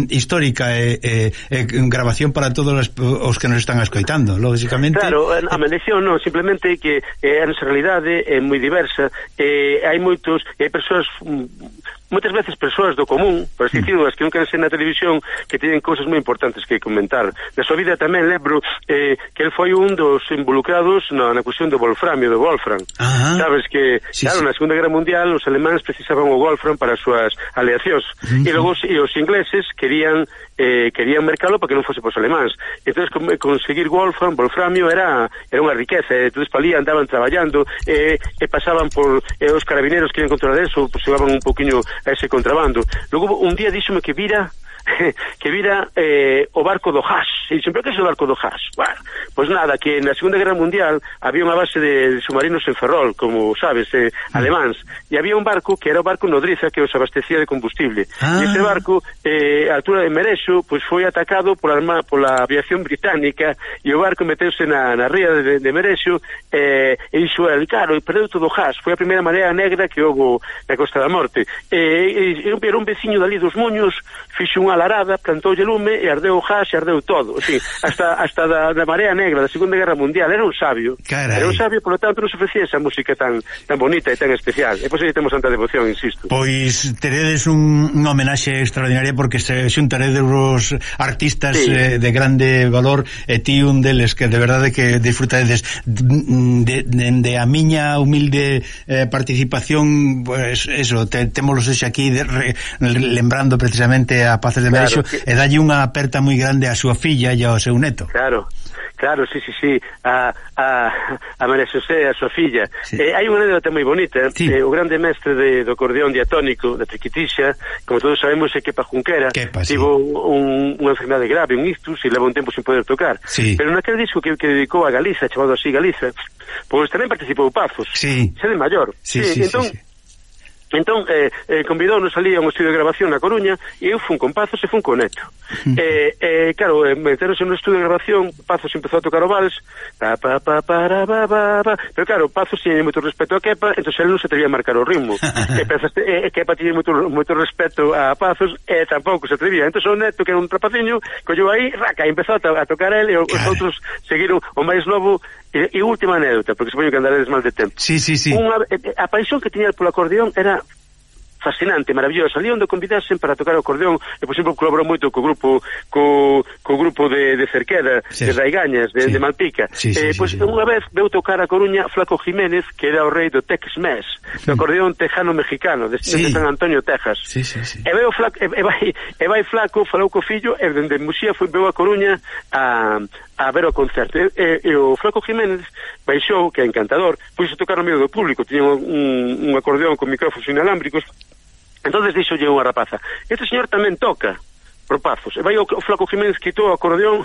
histórica e grabación para todos os que nos están escoitando, lógicamente. Claro, a lección non, simplemente que a nosa realidade é moi diversa, hai persoas, moitas veces persoas do común, por así dicirlo, as que nunca ven na televisión, que teñen cousas moi importantes que comentar. Na súa vida tamén lembro que el foi un dos involucrados na cuestión do wolframio, do Wolfram. Sabes que, claro, na Segunda Guerra Mundial os alemáns precisaban o Wolfram para as súas aleacións, e logo os ingleses querían mercalo para que non fose pos alemáns. Entón, conseguir wolframio era unha riqueza. Entón, para ali andaban traballando e pasaban por os carabineros que iban controlar eso, pues llevaban un poquinho a ese contrabando. Logo un día díxome que vira o barco do Haas. E dixen, pero que é o barco do Haas? Bueno, pois nada, que na Segunda Guerra Mundial había unha base de submarinos en Ferrol, como sabes, alemáns, e había un barco que era o barco Nodriza, que os abastecía de combustible. E ese barco, a altura de Merexo, pois foi atacado pola aviación británica, e o barco meteuse na ría de Merexo, e dixo, claro, e perdeu todo o Haas. Foi a primeira marea negra que houve na Costa da Morte. E un veciño dali dos Moños fixo unha mala arada, plantoulle lume e ardeu o gas e ardeu todo. En fin, hasta da Marea Negra da Segunda Guerra Mundial. Era un sabio. Carai. Era un sabio, por lo tanto, non se ofrecía esa música tan bonita e tan especial. E pois aí temos tanta devoción, insisto. Pois teredes unha homenaxe extraordinaria porque se xuntaredes os artistas de grande valor e ti un deles que de verdade que disfrutaredes de a miña humilde participación, pues eso, témolos aquí lembrando precisamente a Pazos de Merexo, e dalle unha aperta moi grande a súa filla e ao seu neto. Claro, sí, a María Xosé, a súa filla. Hai unha anécdota moi bonita. O grande mestre do acordeón diatónico da Triquitixa, como todos sabemos, é Kepa Junquera. Tivo unha enfermedade grave, un ictus, e leva un tempo sin poder tocar. Pero naquele disco que dedicou a Galiza, chamado así Galiza, pois tamén participou Pazos. Xe de maior. Entón, convidounos ali a un estudio de grabación na Coruña e eu fun con Pazos e fun con Neto. Claro, meteronse no estudio de grabación, Pazos empezou a tocar o vals, pero claro, Pazos tiña moito respeto a Kepa, entón ele non se atrevía a marcar o ritmo. Kepa tiña moito respeto a Pazos e tampouco se atrevía. Entón o Neto, que era un trapaciño, colleu aí, raca, e empezou a tocar ele, e os outros seguiron. O máis novo, e última anécdota, porque supoño que andaredes mal de tempo. A paixón que tiña polo acordeón era fascinante, maravilloso. Ali onde convidasen para tocar o acordeón, e por exemplo colaborou moito co grupo de Cerqueda, de Raigañas, de Malpica. Pois unha vez veu tocar a Coruña Flaco Jiménez, que era o rei do Tex-Mex, do acordeón tejano mexicano, de San Antonio, Texas. E vai Flaco, falou co fillo, e dende Muxía veu a Coruña a ver o concerto. E o Flaco Jiménez baixou, que é encantador, pois a tocar no medio do público, tiña un acordeón con micrófonos inalámbricos. Entonces dixolle unha rapaza: este señor tamén toca por Pazos. E vai o Flaco Jiménez, quitou o acordeón,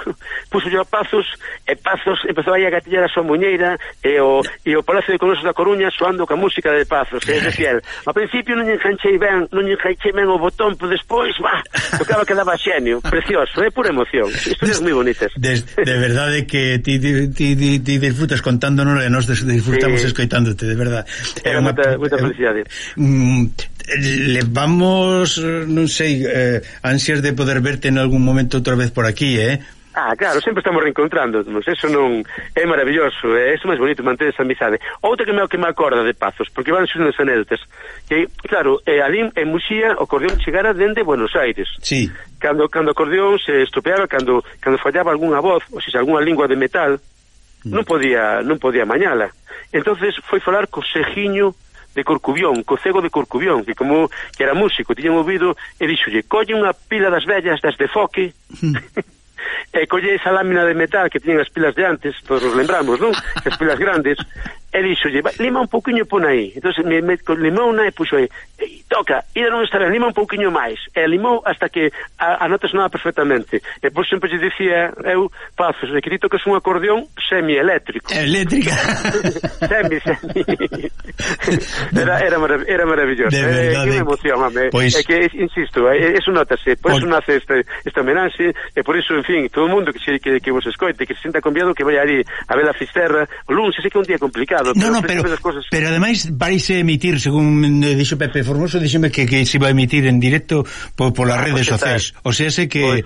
puxolle a Pazos, e Pazos empezou aí a gatillar a súa muñeira, e o Palacio de Congresos da Coruña soando ca música de Pazos, que é decir, ao principio non enganchei ben o botón, pero despois, tocaba que daba xenio, precioso, é pura emoción, historias moi bonitas. De verdade que ti disfrutas contándonos e nos disfrutamos escoitándote, de verdade. É moita felicidade. Levamos, non sei, ansias de poder verte en algún momento outra vez por aquí, claro, sempre estamos reencontrándonos, eso non é maravilloso, é máis bonito manter esa amizade. Outra que me acorda de Pazos, porque van xuntas anécdotas, que, claro, ali en Muxía o acordeón chegara dende Buenos Aires. Cando o acordeón se estropeaba, cando fallaba algunha voz, ou seja, algunha lingua de metal, non podía mañala. Entonces foi falar co Sejiño de Corcubión, co cego de Corcubión, que era músico, tiña ouvido, e dixolle: colle unha pila das vellas das de Foque, e colle esa lámina de metal que tiñen as pilas de antes, todos nos lembramos, non? As pilas grandes, e dixolle: lima un pouquiño pon aí. Entón limou unha e puxo aí, toca, e non está ben, lima un pouquiño máis, e limou hasta que a nota sonaba perfectamente. E por sempre lle dicía eu: Pazos, que ti tocas un acordeón semieléctrico. Eléctrica. Semi. Era maravilloso. De verdade. Que emoción, mame. É que, insisto, eso notase, por eso nace esta homenaxe, e por iso, en fin, todo o mundo que vos escoite, que se sienta convidado, que vai ali a ver a Fisterra o lunes, sei que é un día complicado. Pero ademais vais emitir, según dixo Pepe Formoso, díxeme que se vai emitir en directo polas redes sociais. O sea, sé que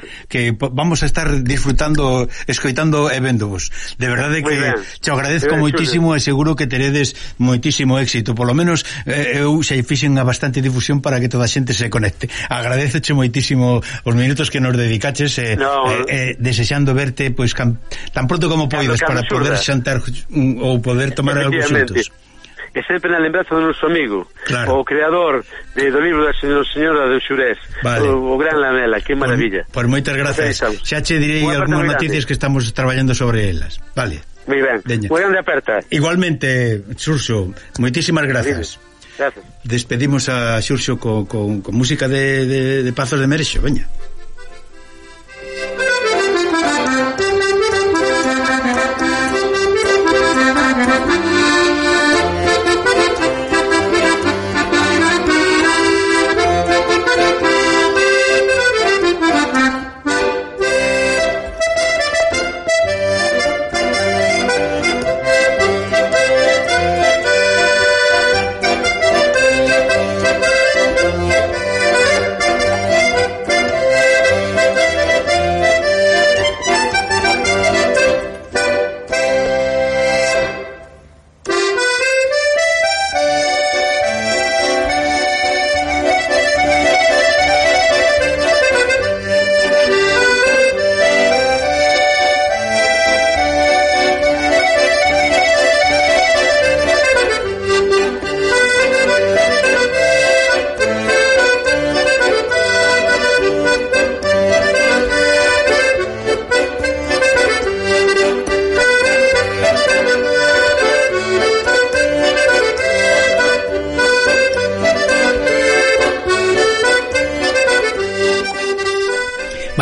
vamos a estar disfrutando, escoitando e véndovos. De verdade que te agradezco moitísimo e seguro que teredes moitísimo éxito. Por lo menos eu xa fixen a bastante difusión para que toda a xente se conecte. Agradeceche moitísimo os minutos que nos dedicaches desexando verte pois tan pronto como poidas para poder xantar ou poder tomar algo xuntos. E sempre na lembranza do noso amigo, o creador do libro da señora de Xurés, o gran Lamela, que maravilla. Por moitas grazas. Xa che direi algunhas noticias que estamos traballando sobre elas. Vale. Moi ben. Moi grande aperta. Igualmente, Xurxo, moitísimas grazas. Gracias. Despedimos a Xurxo con música de Pazos de Merexo, veña.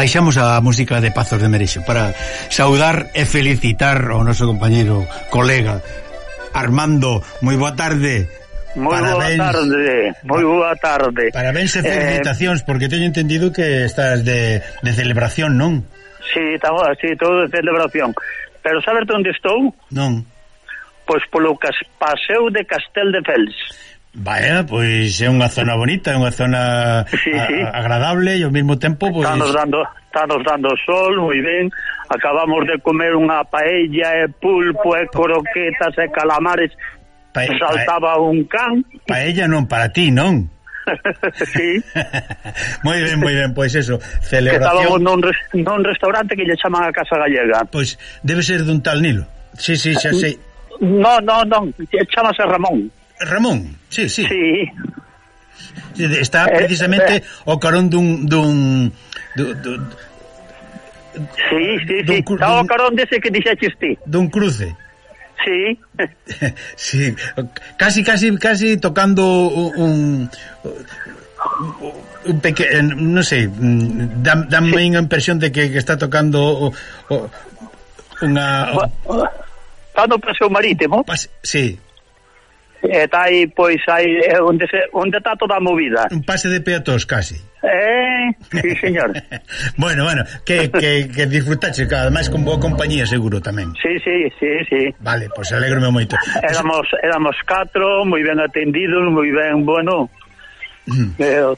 baixamos a música de Pazos de Merexo para saudar e felicitar ao noso compañeiro, colega Armando. Moi boa tarde. Moi boa tarde. Parabéns e felicitacións, porque teño entendido que estás de celebración, non? Sí, todo de celebración. Pero sabes onde estou? Non. Pois polo paseo de Casteldefels. Vaya, pois é unha zona bonita, é unha zona agradable e ao mesmo tempo pois... Está nos dando sol, moi ben. Acabamos de comer unha paella e pulpo e croquetas e calamares. Saltaba un can. Paella non para ti, non? Sí. Moi ben, pois eso, celebración. Estábamos nun restaurante que lle chaman a Casa Gallega. Pois debe ser dun tal Nilo. Sí, xa sei. Non, chamase Ramón. Ramón, sí. Sí. Está precisamente ao carón dun Sí. Está ao carón dese que dixeches ti. Dun cruce. Sí. Sí, casi tocando un pequeno, non sei, dame unha impresión de que está tocando unha... Está no paseo marítimo. Sí. Está aí, pois, onde está toda a movida. Un pase de peatóns, casi. Sí, señor. Bueno, que disfrutaxe, ademais con boa compañía, seguro, tamén. Sí. Vale, pois alégrome moito. Éramos 4, moi ben atendidos, moi ben, bueno...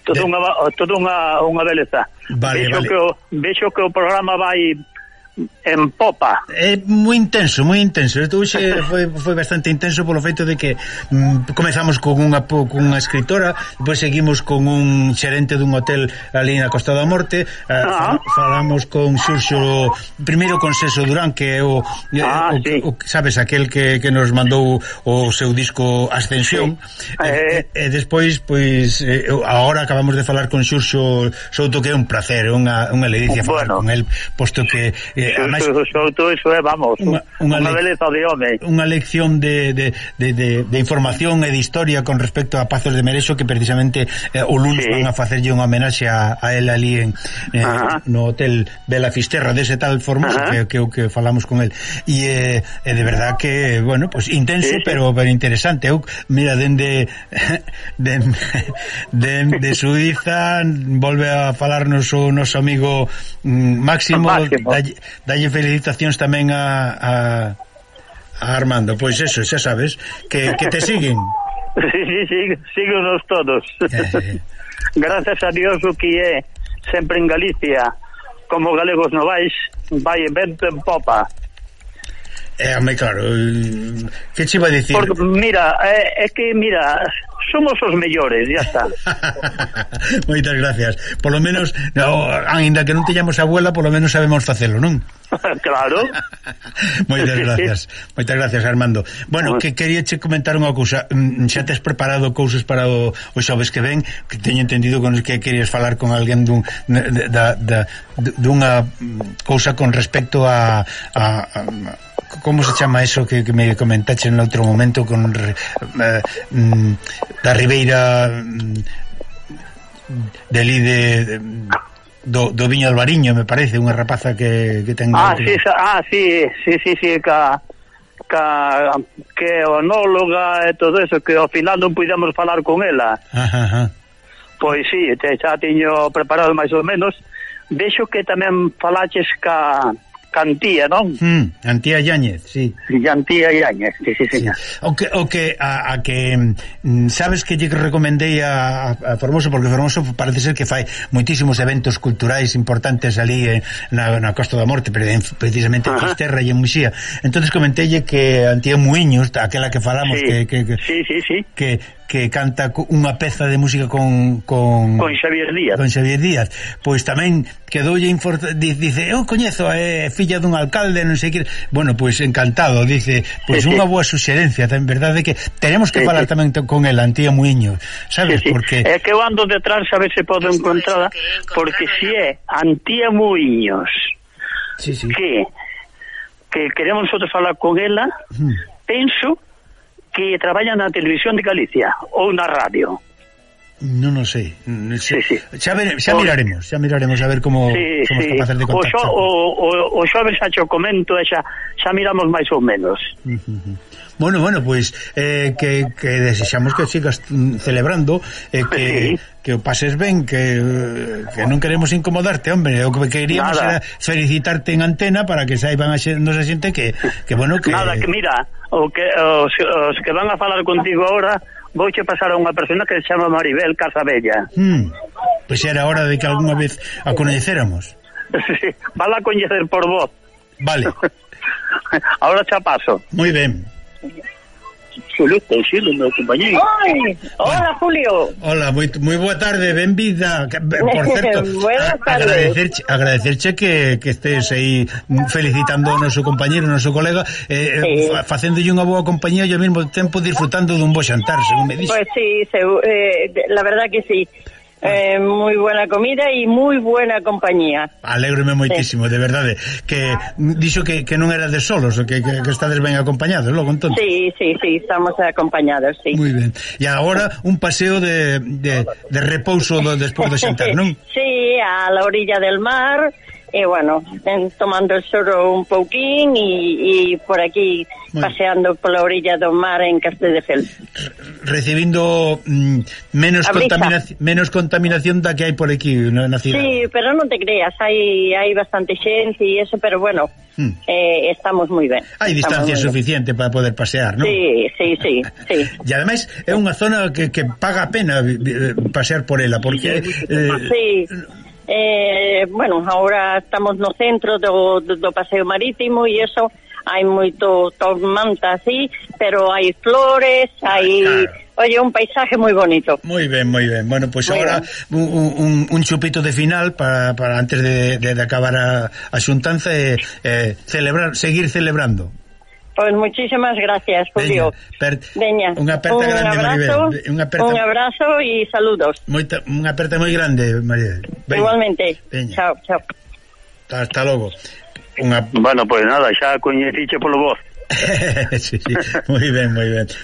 Todo unha beleza. Vale. Vexo que o programa vai en popa. É moi intenso. Hoxe foi bastante intenso polo feito de que comezamos con unha escritora, depois seguimos con un xerente dun hotel ali na Costa da Morte, falamos con Xurxo, primeiro con Seso Durán, que é o sabes, aquel que nos mandou o seu disco Ascensión, e despois, pois, agora acabamos de falar con Xurxo Souto, que é un placer, unha ledicia falar con el, posto que Eso é, vamos, unha beleza de home. Unha lección de información e de historia con respecto a Pazos de Merexo, que precisamente o lunes van a facerlle unha homenaxe a él ali no hotel Bela Fisterra, dese tal Formoso que falamos con él. E de verdad que, bueno, pues intenso, pero interesante. Mira, dende Suiza volve a falarnos o noso amigo Máximo. Dalle felicitacións tamén a Armando. Pois eso, xa sabes que te siguen. Sí, síguenos todos. Gracias a Dios, o que é sempre en Galicia, como galegos novais, vai vento en popa. Claro, que che iba a dicir? Porque, mira, somos os mellores, ya está. Moitas gracias. Por lo menos, ainda que non teñamos abuela, por lo menos sabemos facelo, non? Claro. Moitas gracias, Armando. Bueno, que quería che comentar unha cousa. Xa tes preparado cousas para o xoves que ven, que teño entendido que querías falar con alguén dunha cousa con respecto a como se chama eso que me comentaste en outro momento con da Ribeira do Viño Albariño, me parece, unha rapaza que ten... Sí, que é onóloga e todo eso, que ao final non pudemos falar con ela. Pois sí, xa tiño preparado máis ou menos. Vexo que tamén falaches Antía, non? Antía Yáñez, sí. Antía Yáñez, sí, señor. O que sabes que lle recomendei a Formoso, porque Formoso parece ser que fai moitísimos eventos culturais importantes ali na Costa da Morte, precisamente en Fisterra e en Muxía. Entonces comenteille que Antía Muiños, aquela que falamos, que canta unha peza de música con Xavier Díaz, pois tamén quedoulle dice, eu coñezo a filla dun alcalde, non sei que. Bueno, pois encantado, dice, pois unha boa suxerencia, en verdade, que tenemos que falar tamén con el Antía Muiño, sabes? Porque é que eu ando detrás a ver se podo encontrarla, porque si é Antía Muiños que queremos nosotros falar con ela, penso que traballa na televisión de Galicia ou na radio. Non o sei. Sí. Xa miraremos a ver como somos capaces de contactar. O xoves xa cho comento e xa miramos máis ou menos. Bueno, pois que desexamos que sigas celebrando que o pases ben, que non queremos incomodarte, hombre, o que queríamos era felicitarte en antena para que saiban nos a xente que bueno, que... Nada, que mira, os que van a falar contigo ahora, vouche pasar a unha persona que se chama Maribel Casabella. Pois era hora de que algunha vez a coñecéramos. Sí, vala a coñecer por voz. Vale. Ahora xa paso. Moi ben. Xulio, meu compañeiro. Hola, Julio. Hola, moi boa tarde, benvida. Por certo, agradecerche que estés aí felicitando ao noso compañeiro, ao noso colega, facéndolle unha boa compañía e ao mesmo tempo disfrutando dun bo xantar, según me dixo. Pues sí, la verdad que sí. Muy buena comida y muy buena compañía. Alégrome moitísimo, de verdade. Que dixo que non era de solos, que estades ben acompañados, logo entón. Sí, estamos acompañados, sí. Muy ben. E agora un paseo de repouso despois do xantar, non? Sí, a la orilla del mar, e bueno, tomando el sol un pouquín e por aquí paseando pola orilla do mar en Castelldefels. Recibindo menos contaminación da que hai por aquí na cidade. Sí, pero non te creas, hai bastante xente e eso, pero bueno, estamos moi ben. Hai distancia suficiente para poder pasear, non? Sí. E ademais é unha zona que paga a pena pasear por ela, porque... Sí. Bueno, ahora estamos no centro do paseo marítimo e eso, hai moito tormenta así, pero hai flores, hai... Oye, un paisaje moi bonito. Moi ben. Bueno, pois agora un chupito de final para antes de acabar a xuntanza e seguir celebrando. Pues muchísimas gracias, Julio. Veña, unha aperta grande, Maribel. Un abrazo e saludos. Unha aperta moi grande, Maribel. Igualmente. Veña. Chao. Hasta logo. Bueno, pues nada, xa coñeciche polo voz. Sí, moi ben.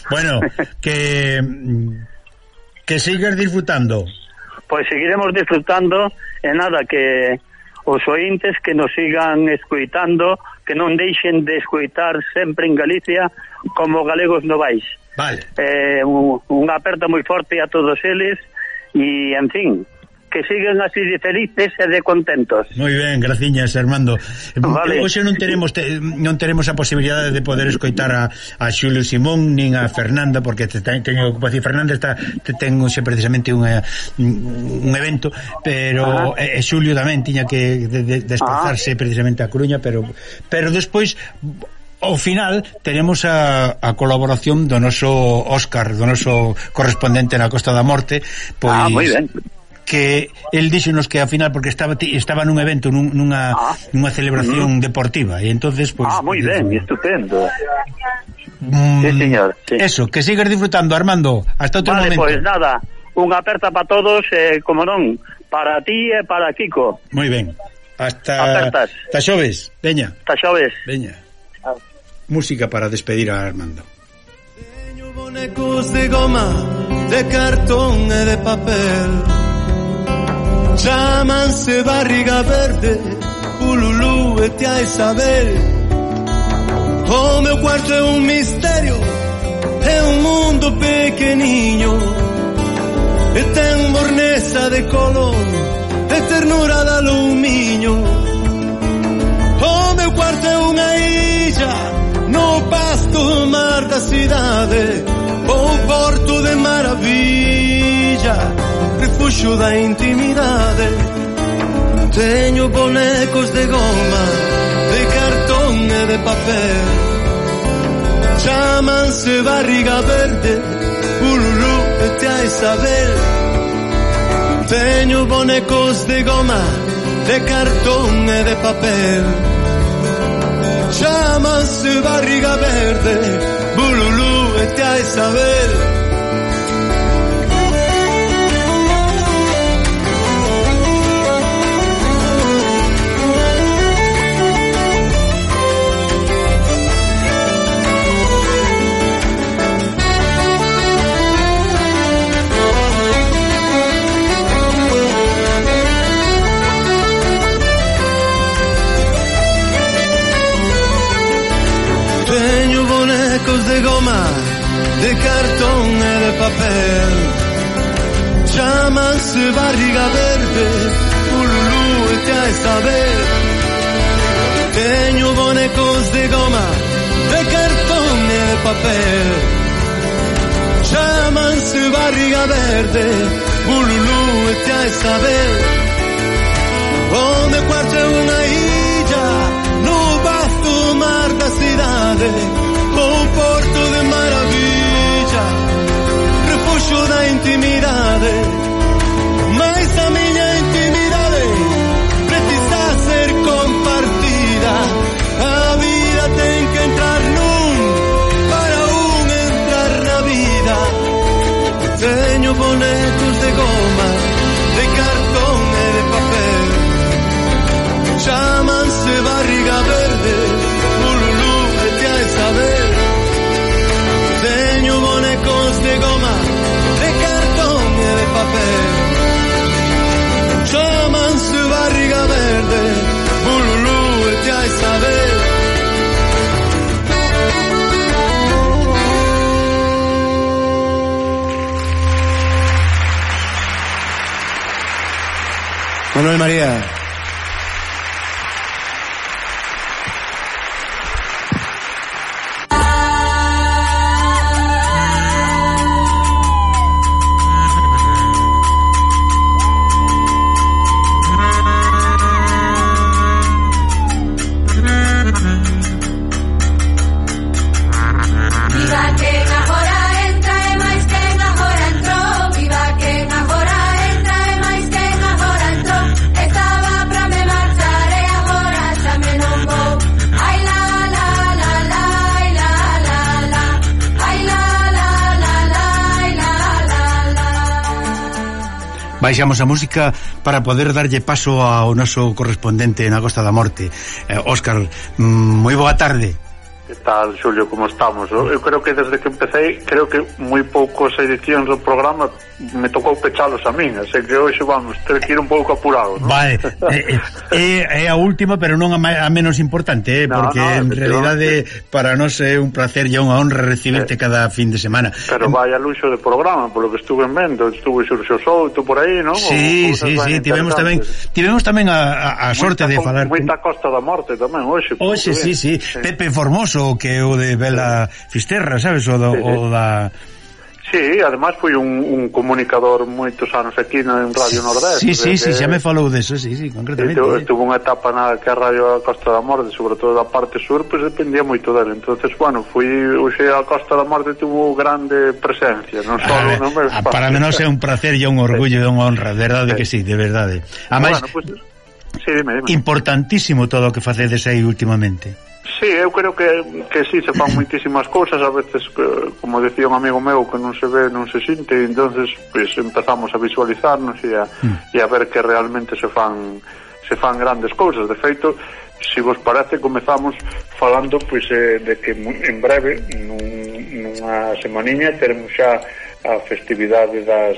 Bueno, que sigas disfrutando. Pues seguiremos disfrutando e nada, que os ointes que nos sigan escoitando, que non deixen de escoitar sempre en Galicia como galegos novais. Vale. Unha aperta moi forte a todos eles e, en fin, que siguen así de felices e de contentos. Moi ben, graciñas, Armando. Vale. Hoxe non teremos a posibilidade de poder escoitar a Xulio Simón nin a Fernanda, porque teño ocupación. Fernanda ten hoxe precisamente un evento, pero Xulio tamén tiña que desplazarse precisamente a Coruña, pero despois ao final tenemos a colaboración do noso Óscar, do noso correspondente na Costa da Morte, pois moi ben, que el díxonos que ao final, porque estaba nun evento, nunha celebración deportiva, e entonces pues, moi ben, estupendo. Sí, señor, sí. Eso, que sigas disfrutando, Armando. Hasta outro momento. Vale, pues nada, unha aperta para todos, como non, para ti e para Kiko. Moi ben. Hasta xoves. Veña. Hasta xoves. Veña. Música para despedir a Armando. Teño bonecos de goma, de cartón e de papel. Chámanse Barriga Verde, Ululú e Tia Isabel. O meu cuarto é un misterio, é un mundo pequeniño, e ten morneza de color, e ternura de alumiño. O meu cuarto é unha illa no pasto mar da cidade, o porto de maravilla, refuxo da intimidade. Teño bonecos de goma, de cartón e de papel. Chámanse Barriga Verde, Ululú e Tia Isabel. Teño bonecos de goma, de cartón e de papel. Chámanse Barriga Verde, Ululú e Tia Isabel. goma, de cartón e de papel. Chámanse barriga verde, ululú e xa saber. Teño bonecos de goma, de cartón e de papel. Chámanse barriga verde, ululú e xa saber. O meu cuarto é unha illa no vasto mar da cidade, un porto de maravilla, refuxo da intimidade. Mais a miña intimidade precisa ser compartida. A vida ten que entrar nun para un entrar na vida. Teño bonecos de goma, de cartón e de papel. Chámanse barriga verde, ululú e xa saber. Teño bonecos de goma, de cartón e de papel. Chámanse barriga verde, ululú e xa saber. Manuel María. Baixamos a música para poder darlle paso ao noso correspondente na Costa da Morte. Óscar, moi boa tarde. Que tal, Xulio, como estamos? Eu creo que desde que empecé, creo que moi poucos edicións do programa me tocou pechalos a min, así que hoxe vamos ter que ir un pouco apurado, ¿no? Vale, é a última, pero non a menos importante, porque en realidade para nós é un placer e unha honra recibirte cada fin de semana. Pero vai a luxo de programa, polo que estuve vendo, estuve Xurxo Souto por aí, non? Sí, tivemos tamén a sorte de falar moita Costa da Morte tamén hoxe. Hoxe, sí. Pepe Formoso, que é o de Bela Fisterra, sabes? O da... Sí, además foi un comunicador moitos anos aquí en Radio Nordeste. Sí, xa me falou deso, sí, concretamente. Tuvo unha etapa na que a Radio Costa da Morte, sobre todo da parte sur, pues dependía moito dele. Entonces, bueno, hoxe a Costa da Morte tuvo grande presencia, non só no meu espacio. Para menos é un placer e un orgullo e unha honra, de verdade que sí, de verdade. Además, sí, dime. Importantísimo todo o que facedes aí últimamente. Sí, eu creo que sí, se fan moitísimas cousas, a veces, como decía un amigo meu, que non se ve, non se sinte, e entonces pues, empezamos a visualizarnos e a ver que realmente se fan grandes cousas. De feito, se vos parece, comezamos falando pues, de que en breve, nunha semaniña, teremos xa a festividade das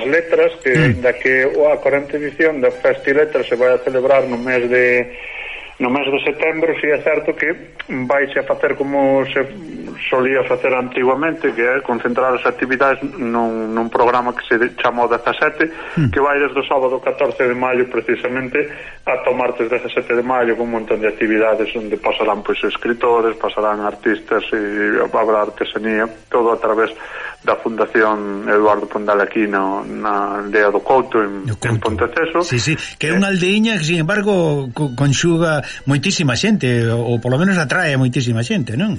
letras, que ainda que a 40ª edición da Festi Letras se vai a celebrar no mes de setembro, si é certo que vaise a facer como se solía facer antiguamente, que é concentrar as actividades nun programa que se chama o 17, que vai desde o sábado 14 de maio precisamente ata o martes 17 de maio, con un montón de actividades onde pasarán pois escritores, pasarán artistas e habrá artesanía, todo a través da Fundación Eduardo Pondal aquí na aldea do Couto en Ponteceso. Sí, que é unha aldeiña que, sin embargo, conxuga moitísima xente, ou polo menos atrae moitísima xente, non?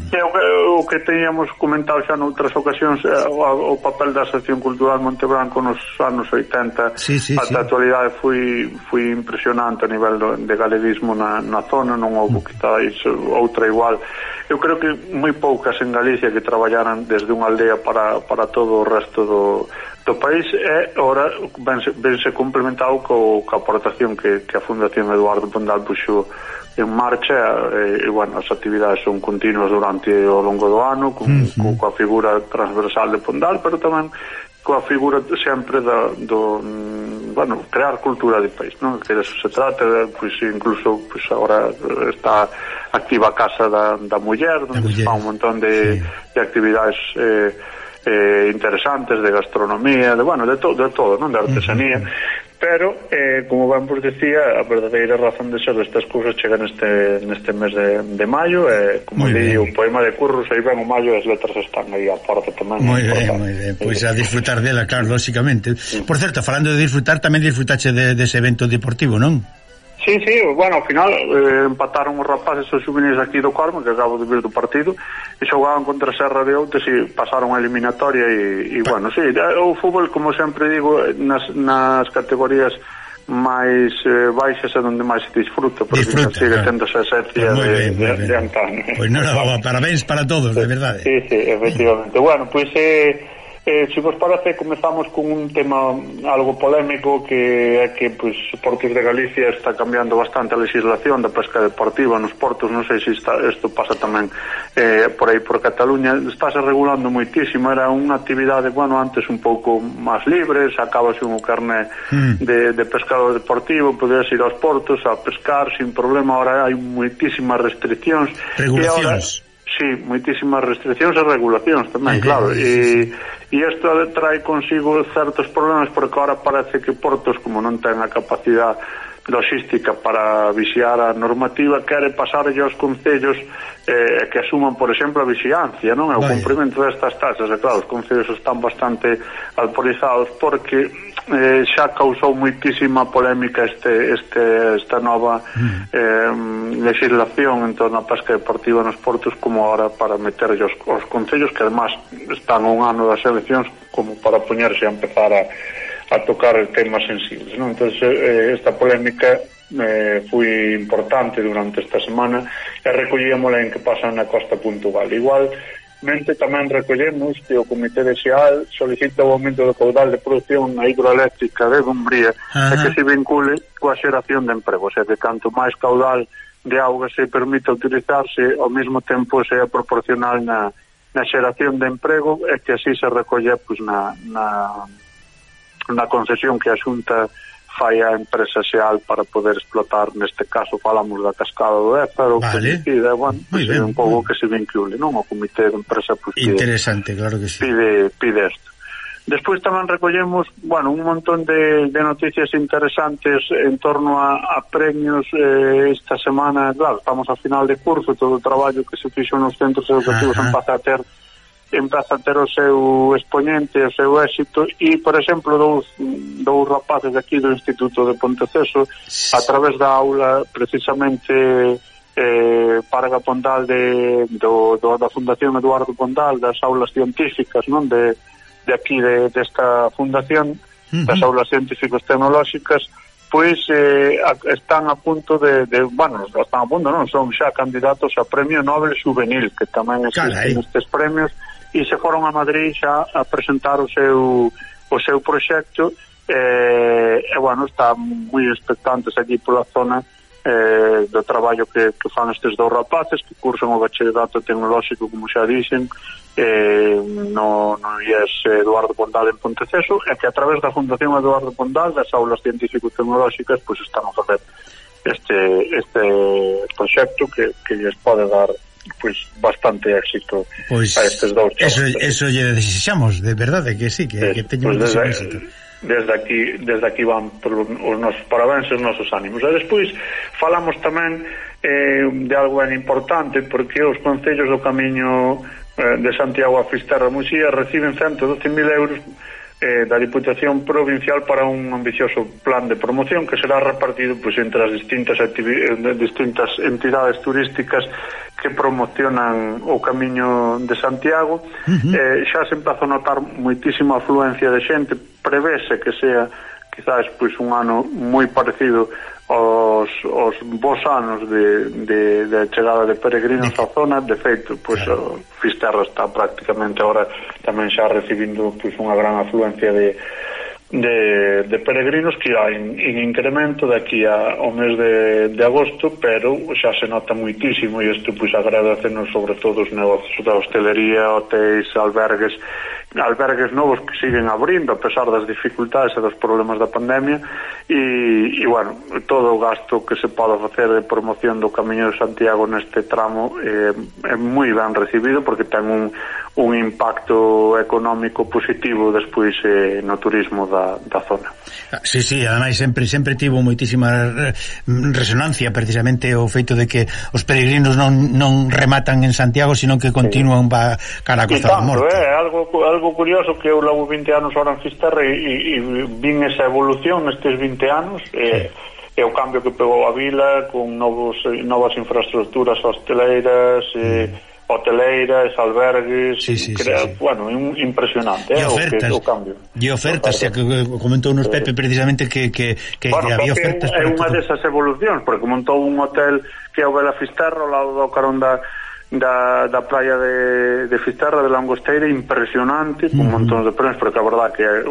O que teníamos comentado xa noutras ocasións, o papel da Sección Cultural Montebranco nos anos 80 ata a actualidade foi impresionante a nivel de galeguismo na zona, non houve quitáis outra igual. Eu creo que moi poucas en Galicia que traballaran desde unha aldea para todo o resto do país, e ora vense complementado coa aportación que a Fundación Eduardo Pondal puxo en marcha, e bueno, as actividades son continuas durante o longo do ano, coa figura transversal de Pondal, pero tamén coa figura sempre bueno, crear cultura de país, non? Que eso se trata, pois incluso pois agora está activa a Casa da Muller, onde se fan un montón de actividades interesantes, de gastronomía, de todo, non? De artesanía. Pero, como ben vos decía, a verdadeira razón de ser destas cousas chega neste mes de maio, como di o poema de Curros, aí ven o maio e as letras están aí a porta tamén. Moi ben, pois a disfrutar dela, claro, lóxicamente. Por certo, falando de disfrutar, tamén disfrutache dese evento deportivo, non? Sí, bueno, ao final empataron os rapaces os xuvenis aquí do Corme, que acabo de vir do partido, e xogaban contra Serra de Outes e pasaron a eliminatoria e bueno, sí, o fútbol, como sempre digo, nas categorías máis baixas é onde máis se disfruta, porque sigue tendo esa esencia de antaño. Pois non, parabéns para todos, de verdade. Sí, efectivamente. Bueno, pois se vos parece, comezamos con un tema algo polémico, que é que Portos de Galicia está cambiando bastante a legislación da pesca deportiva nos portos. Non sei se isto pasa tamén por aí por Cataluña. Estáse regulando moitísimo. Era unha actividade, bueno, antes un pouco máis libre, sacabase un carné de pescador deportivo, podías ir aos portos a pescar sin problema. Ahora hai moitísimas restriccións. Regulacións. Sí, moitísimas restriccións e regulacións tamén, claro, e isto trae consigo certos problemas, porque ahora parece que portos, como non ten a capacidade logística para vixiar a normativa, quere pasarlle aos concellos que asuman, por exemplo, a vixiancia, non? O cumprimento destas taxas. E claro, os concellos están bastante alporizados, porque xa causou moitísima polémica esta nova legislación en torno á pesca deportiva nos portos, como ahora para meterlle os concellos, que además están un ano das eleccións, como para poñerse a empezar a tocar temas sensibles, non? Entón, esta polémica foi importante durante esta semana, e recollíamola en que pasa na costa puntual. Igualmente tamén recollemos que o Comité de Xeal solicita o aumento do caudal de produción na hidroeléctrica de Dumbría e que se vincule coa xeración de emprego, o sea, que canto máis caudal de auga se permite utilizarse, ao mesmo tempo sea proporcional na xeración de emprego, e que así se recolle na concesión que a Xunta fai a empresa Xeal para poder explotar. Neste caso falamos da cascada do Ézaro, que decide, bueno, un pouco que se vincule, non? O comité de empresa interesante, claro que sí. Pide isto. Despois tamén recollemos, bueno, un montón de noticias interesantes en torno a premios. Esta semana, claro, estamos a final de curso, todo o traballo que se fixo nos centros educativos empeza a ter o seu expoñente, o seu éxito, e, por exemplo, dous rapaces de aquí do Instituto de Ponteceso, a través da aula precisamente Parga Pondal da Fundación Eduardo Pondal, das aulas científicas, non, de aquí desta fundación, das aulas científicos tecnolóxicas, pois están a punto están a punto, non, son xa candidatos a Premio Nobel Juvenil, que tamén existen estes premios, e se foron a Madrid xa a presentar o seu proxecto, e bueno, están moi expectantes aquí pola zona do traballo que fan estes dous rapaces que cursan o bachillerato tecnolóxico, como xa dixen, no IES Eduardo Pondal en Ponteceso, e que a través da Fundación Eduardo Pondal, das aulas científico-tecnolóxicas, pois están a facer este proxecto que lles pode dar bastante éxito a estes dous chavos. Eso lle desexamos, de verdade, que sí, que teñen moito éxito. Desde aquí van os nosos parabéns e os nosos ánimos. E despois falamos tamén de algo ben importante, porque os concellos do camiño de Santiago a Fisterra Muxía reciben 112.000 euros da Diputación Provincial para un ambicioso plan de promoción que será repartido entre as distintas entidades turísticas que promocionan o camiño de Santiago. Xa se empeza a notar moitísima afluencia de xente. Prevese que sea quizás un ano moi parecido aos bons anos de chegada de peregrinos á zona. De feito, Fisterra está prácticamente agora tamén xa recibindo unha gran afluencia de de peregrinos que irá en incremento de aquí ao mes de agosto, pero xa se nota muitísimo, e isto pois agradecenos sobre todo os negocios da hostelería, hotéis, albergues novos que siguen abrindo a pesar das dificultades e dos problemas da pandemia, e bueno, todo o gasto que se pode facer de promoción do Camiño de Santiago neste tramo é moi ben recibido, porque ten un impacto económico positivo despois no turismo da zona. Sí, ademais sempre tivo moitísima resonancia precisamente o feito de que os peregrinos non rematan en Santiago, sino que continúan cara a Costa da Morte. Algo curioso que eu levo 20 anos ahora en Fisterra e vin esa evolución nestes 20 anos, e o cambio que pegou a vila con novas infraestructuras hosteleiras, hoteleiras, albergues, bueno, impresionante o cambio. E ofertas, xa que comentou nos Pepe precisamente que había ofertas. É unha desas evolucións, porque montou un hotel que é o Vela Fisterra ao lado do carón da praia de Fisterra, de Langosteira, impresionante, con montón de premios, porque a verdad que é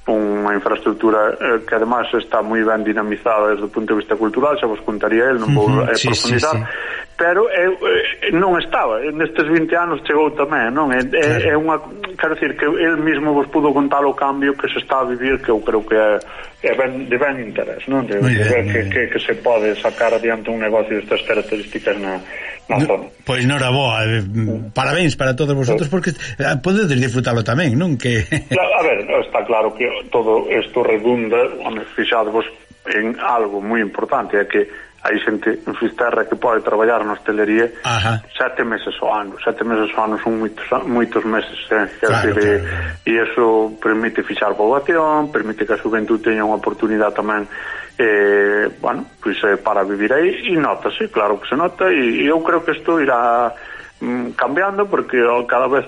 unha infraestructura que además está moi ben dinamizada desde o punto de vista cultural, xa vos contaría el, non vou profundizar, pero non estaba, nestes 20 anos chegou tamén, non? É unha, quero dicir, que el mismo vos pudo contar o cambio que se está a vivir, que eu creo que é de ben interés, non? De ver que se pode sacar adiante un negocio destas características na zona. Pois noraboa, parabéns para todos vosotros, porque podedes disfrutalo tamén, non? A ver, está claro que todo isto redunda, fixadvos en algo moi importante, é que hai xente en Fisterra que pode traballar na hostelería 7 meses ao ano. 7 meses ao ano son moitos meses, e iso permite fixar poboación, permite que a xuventude teña unha oportunidade tamén para vivir aí, e notase, claro que se nota, e eu creo que isto irá cambiando, porque cada vez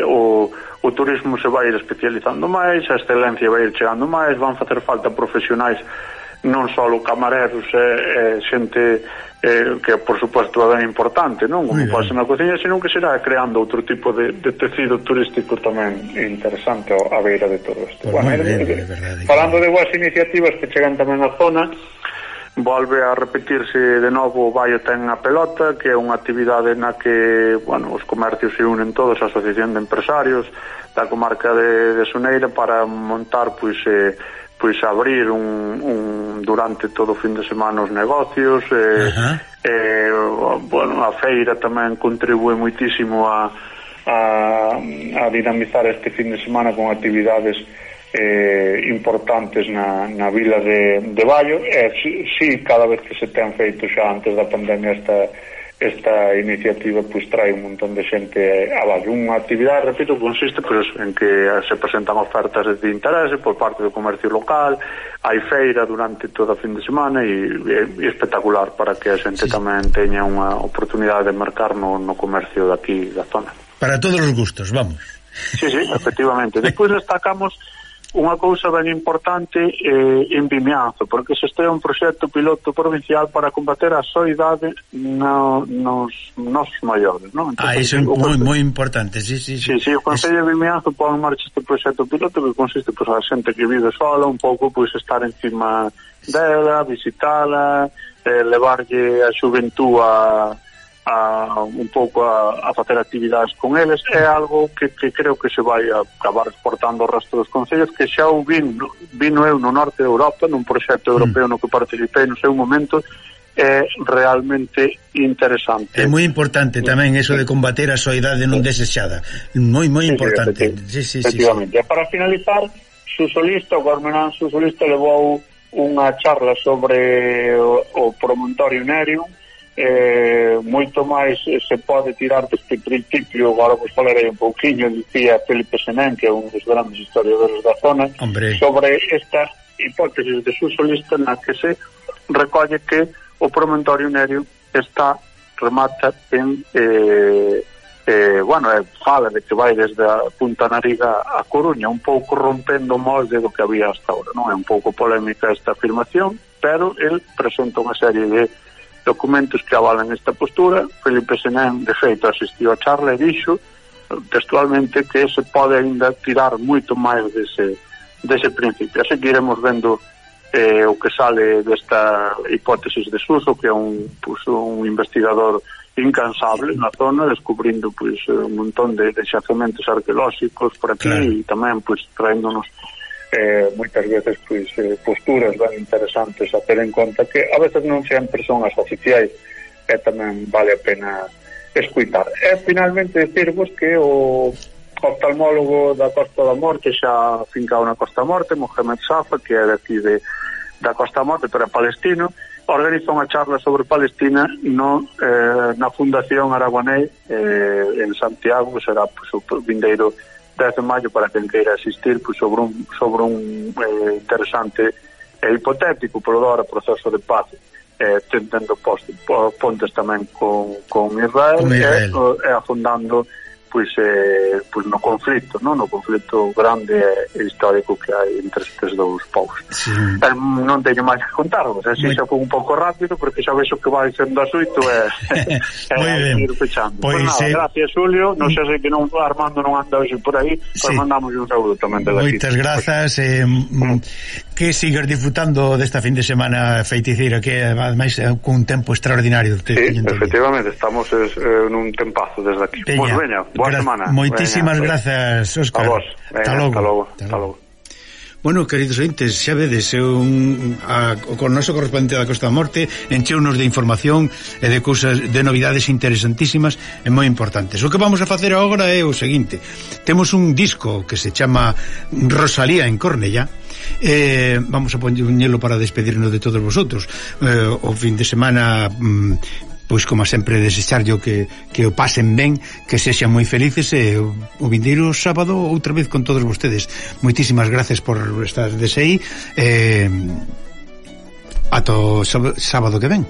o turismo se vai ir especializando máis, a excelencia vai ir chegando máis, van facer falta profesionais, non só camareros e xente que por suposto é ben importante, non? Como pode ser na cociña, senón que será creando outro tipo de tecido turístico tamén interesante a beira de todo isto. Falando de boas iniciativas que chegan tamén á zona, volve a repetirse de novo o Baio ten a pelota, que é unha actividade na que, os comercios se unen todos, a Asociación de Empresarios da comarca de Soneira, para montar abrir durante todo o fin de semana os negocios, a feira tamén contribúe moitísimo a dinamizar este fin de semana con actividades importantes na vila de Baio. Cada vez que se ten feito xa antes da pandemia esta iniciativa, trae un montón de xente a Baio. Unha actividade, repito, consiste en que se presentan ofertas de interese por parte do comercio local, hai feira durante todo o fin de semana, e é espectacular para que a xente tamén teña unha oportunidade de mercar no comercio daqui da zona. Para todos os gustos, vamos. Sí, efectivamente. Despois destacamos unha cousa ben importante en Vimianzo, porque se este é un proxecto piloto provincial para combater a soidade nos maiores, non? Iso é moi importante, sí. O Concello de Vimianzo pon en marcha este proxecto piloto que consiste a xente que vive sola, un pouco estar encima dela, visitala, levarlle a xuventú un pouco a facer actividades con eles. É algo que creo que se vai acabar exportando ao resto dos concellos, que xa o vino eu no norte de Europa, nun proxecto europeo no que participei no seu momento. É realmente interesante. É moi importante tamén eso de combater a soidade non desexada, moi importante. Efectivamente. E para finalizar, Susolista, o Gormenán Susolista levou unha charla sobre o promontorio Nerium. Moito máis se pode tirar deste principio. Agora vos falarei un pouquinho, dicía Felipe Senén, que é un dos grandes historiadores da zona, sobre esta hipótesis de Susolista, na que se recolle que o promontorio Nerio remata en fala de que vai desde a Punta Nariga a Coruña, un pouco rompendo o molde do que había hasta ahora, non? É un pouco polémica esta afirmación, pero el presenta unha serie de documentos que avalan esta postura. Felipe Senén, de feito, asistiu a charla e dixo textualmente que se pode ainda tirar moito máis dese principio. Así que iremos vendo o que sale desta hipótesis de Suso, que é un investigador incansable na zona, descubrindo un montón de xacementos arqueolóxicos por aquí e tamén traéndonos moitas veces posturas ben interesantes a ter en conta, que a veces non sempre son as oficiais, e tamén vale a pena escuitar. E finalmente decirvos que o oftalmólogo da Costa da Morte, xa fincado na Costa da Morte, Mohamed Safa, que é daqui da Costa da Morte, pero é palestino, organiza unha charla sobre Palestina na Fundación Araguaney en Santiago, que será o vindeiro 10 de maio para quen queira asistir sobre un interesante e hipotético por ahora proceso de paz, tentando pontes tamén con Israel e afondando no conflito, no conflito grande e histórico que hai entre estes dous povos. Non teño máis que contarvos, así xa foi un pouco rápido porque xa vexo que vai sendo asuito e ir pechando. Gracias, Julio, non sei se que Armando non anda hoxe por aí, pero mandamos un saúdo tamén de aquí. Moitas grazas, que sigas disfrutando desta fin de semana feiticeira, que ademais é un tempo extraordinario. Efectivamente, estamos nun tempazo desde aquí. Pois veña, boa semana. Moitísimas grazas, Óscar. A vos. Hasta logo. Bueno, queridos ointes, xa vedes, o noso correspondente da Costa da Morte encheunos de información e de cousas, de novidades interesantísimas e moi importantes. O que vamos a facer agora é o seguinte: temos un disco que se chama Rosalía en Cornellá, vamos a poñelo para despedirnos de todos vosotros. O fin de semana pois como sempre desexarllo que o pasen ben, que sexan moi felices, e o vindeiro sábado outra vez con todos vostedes. Moitísimas gracias por estar desde aí, ata o sábado que ven.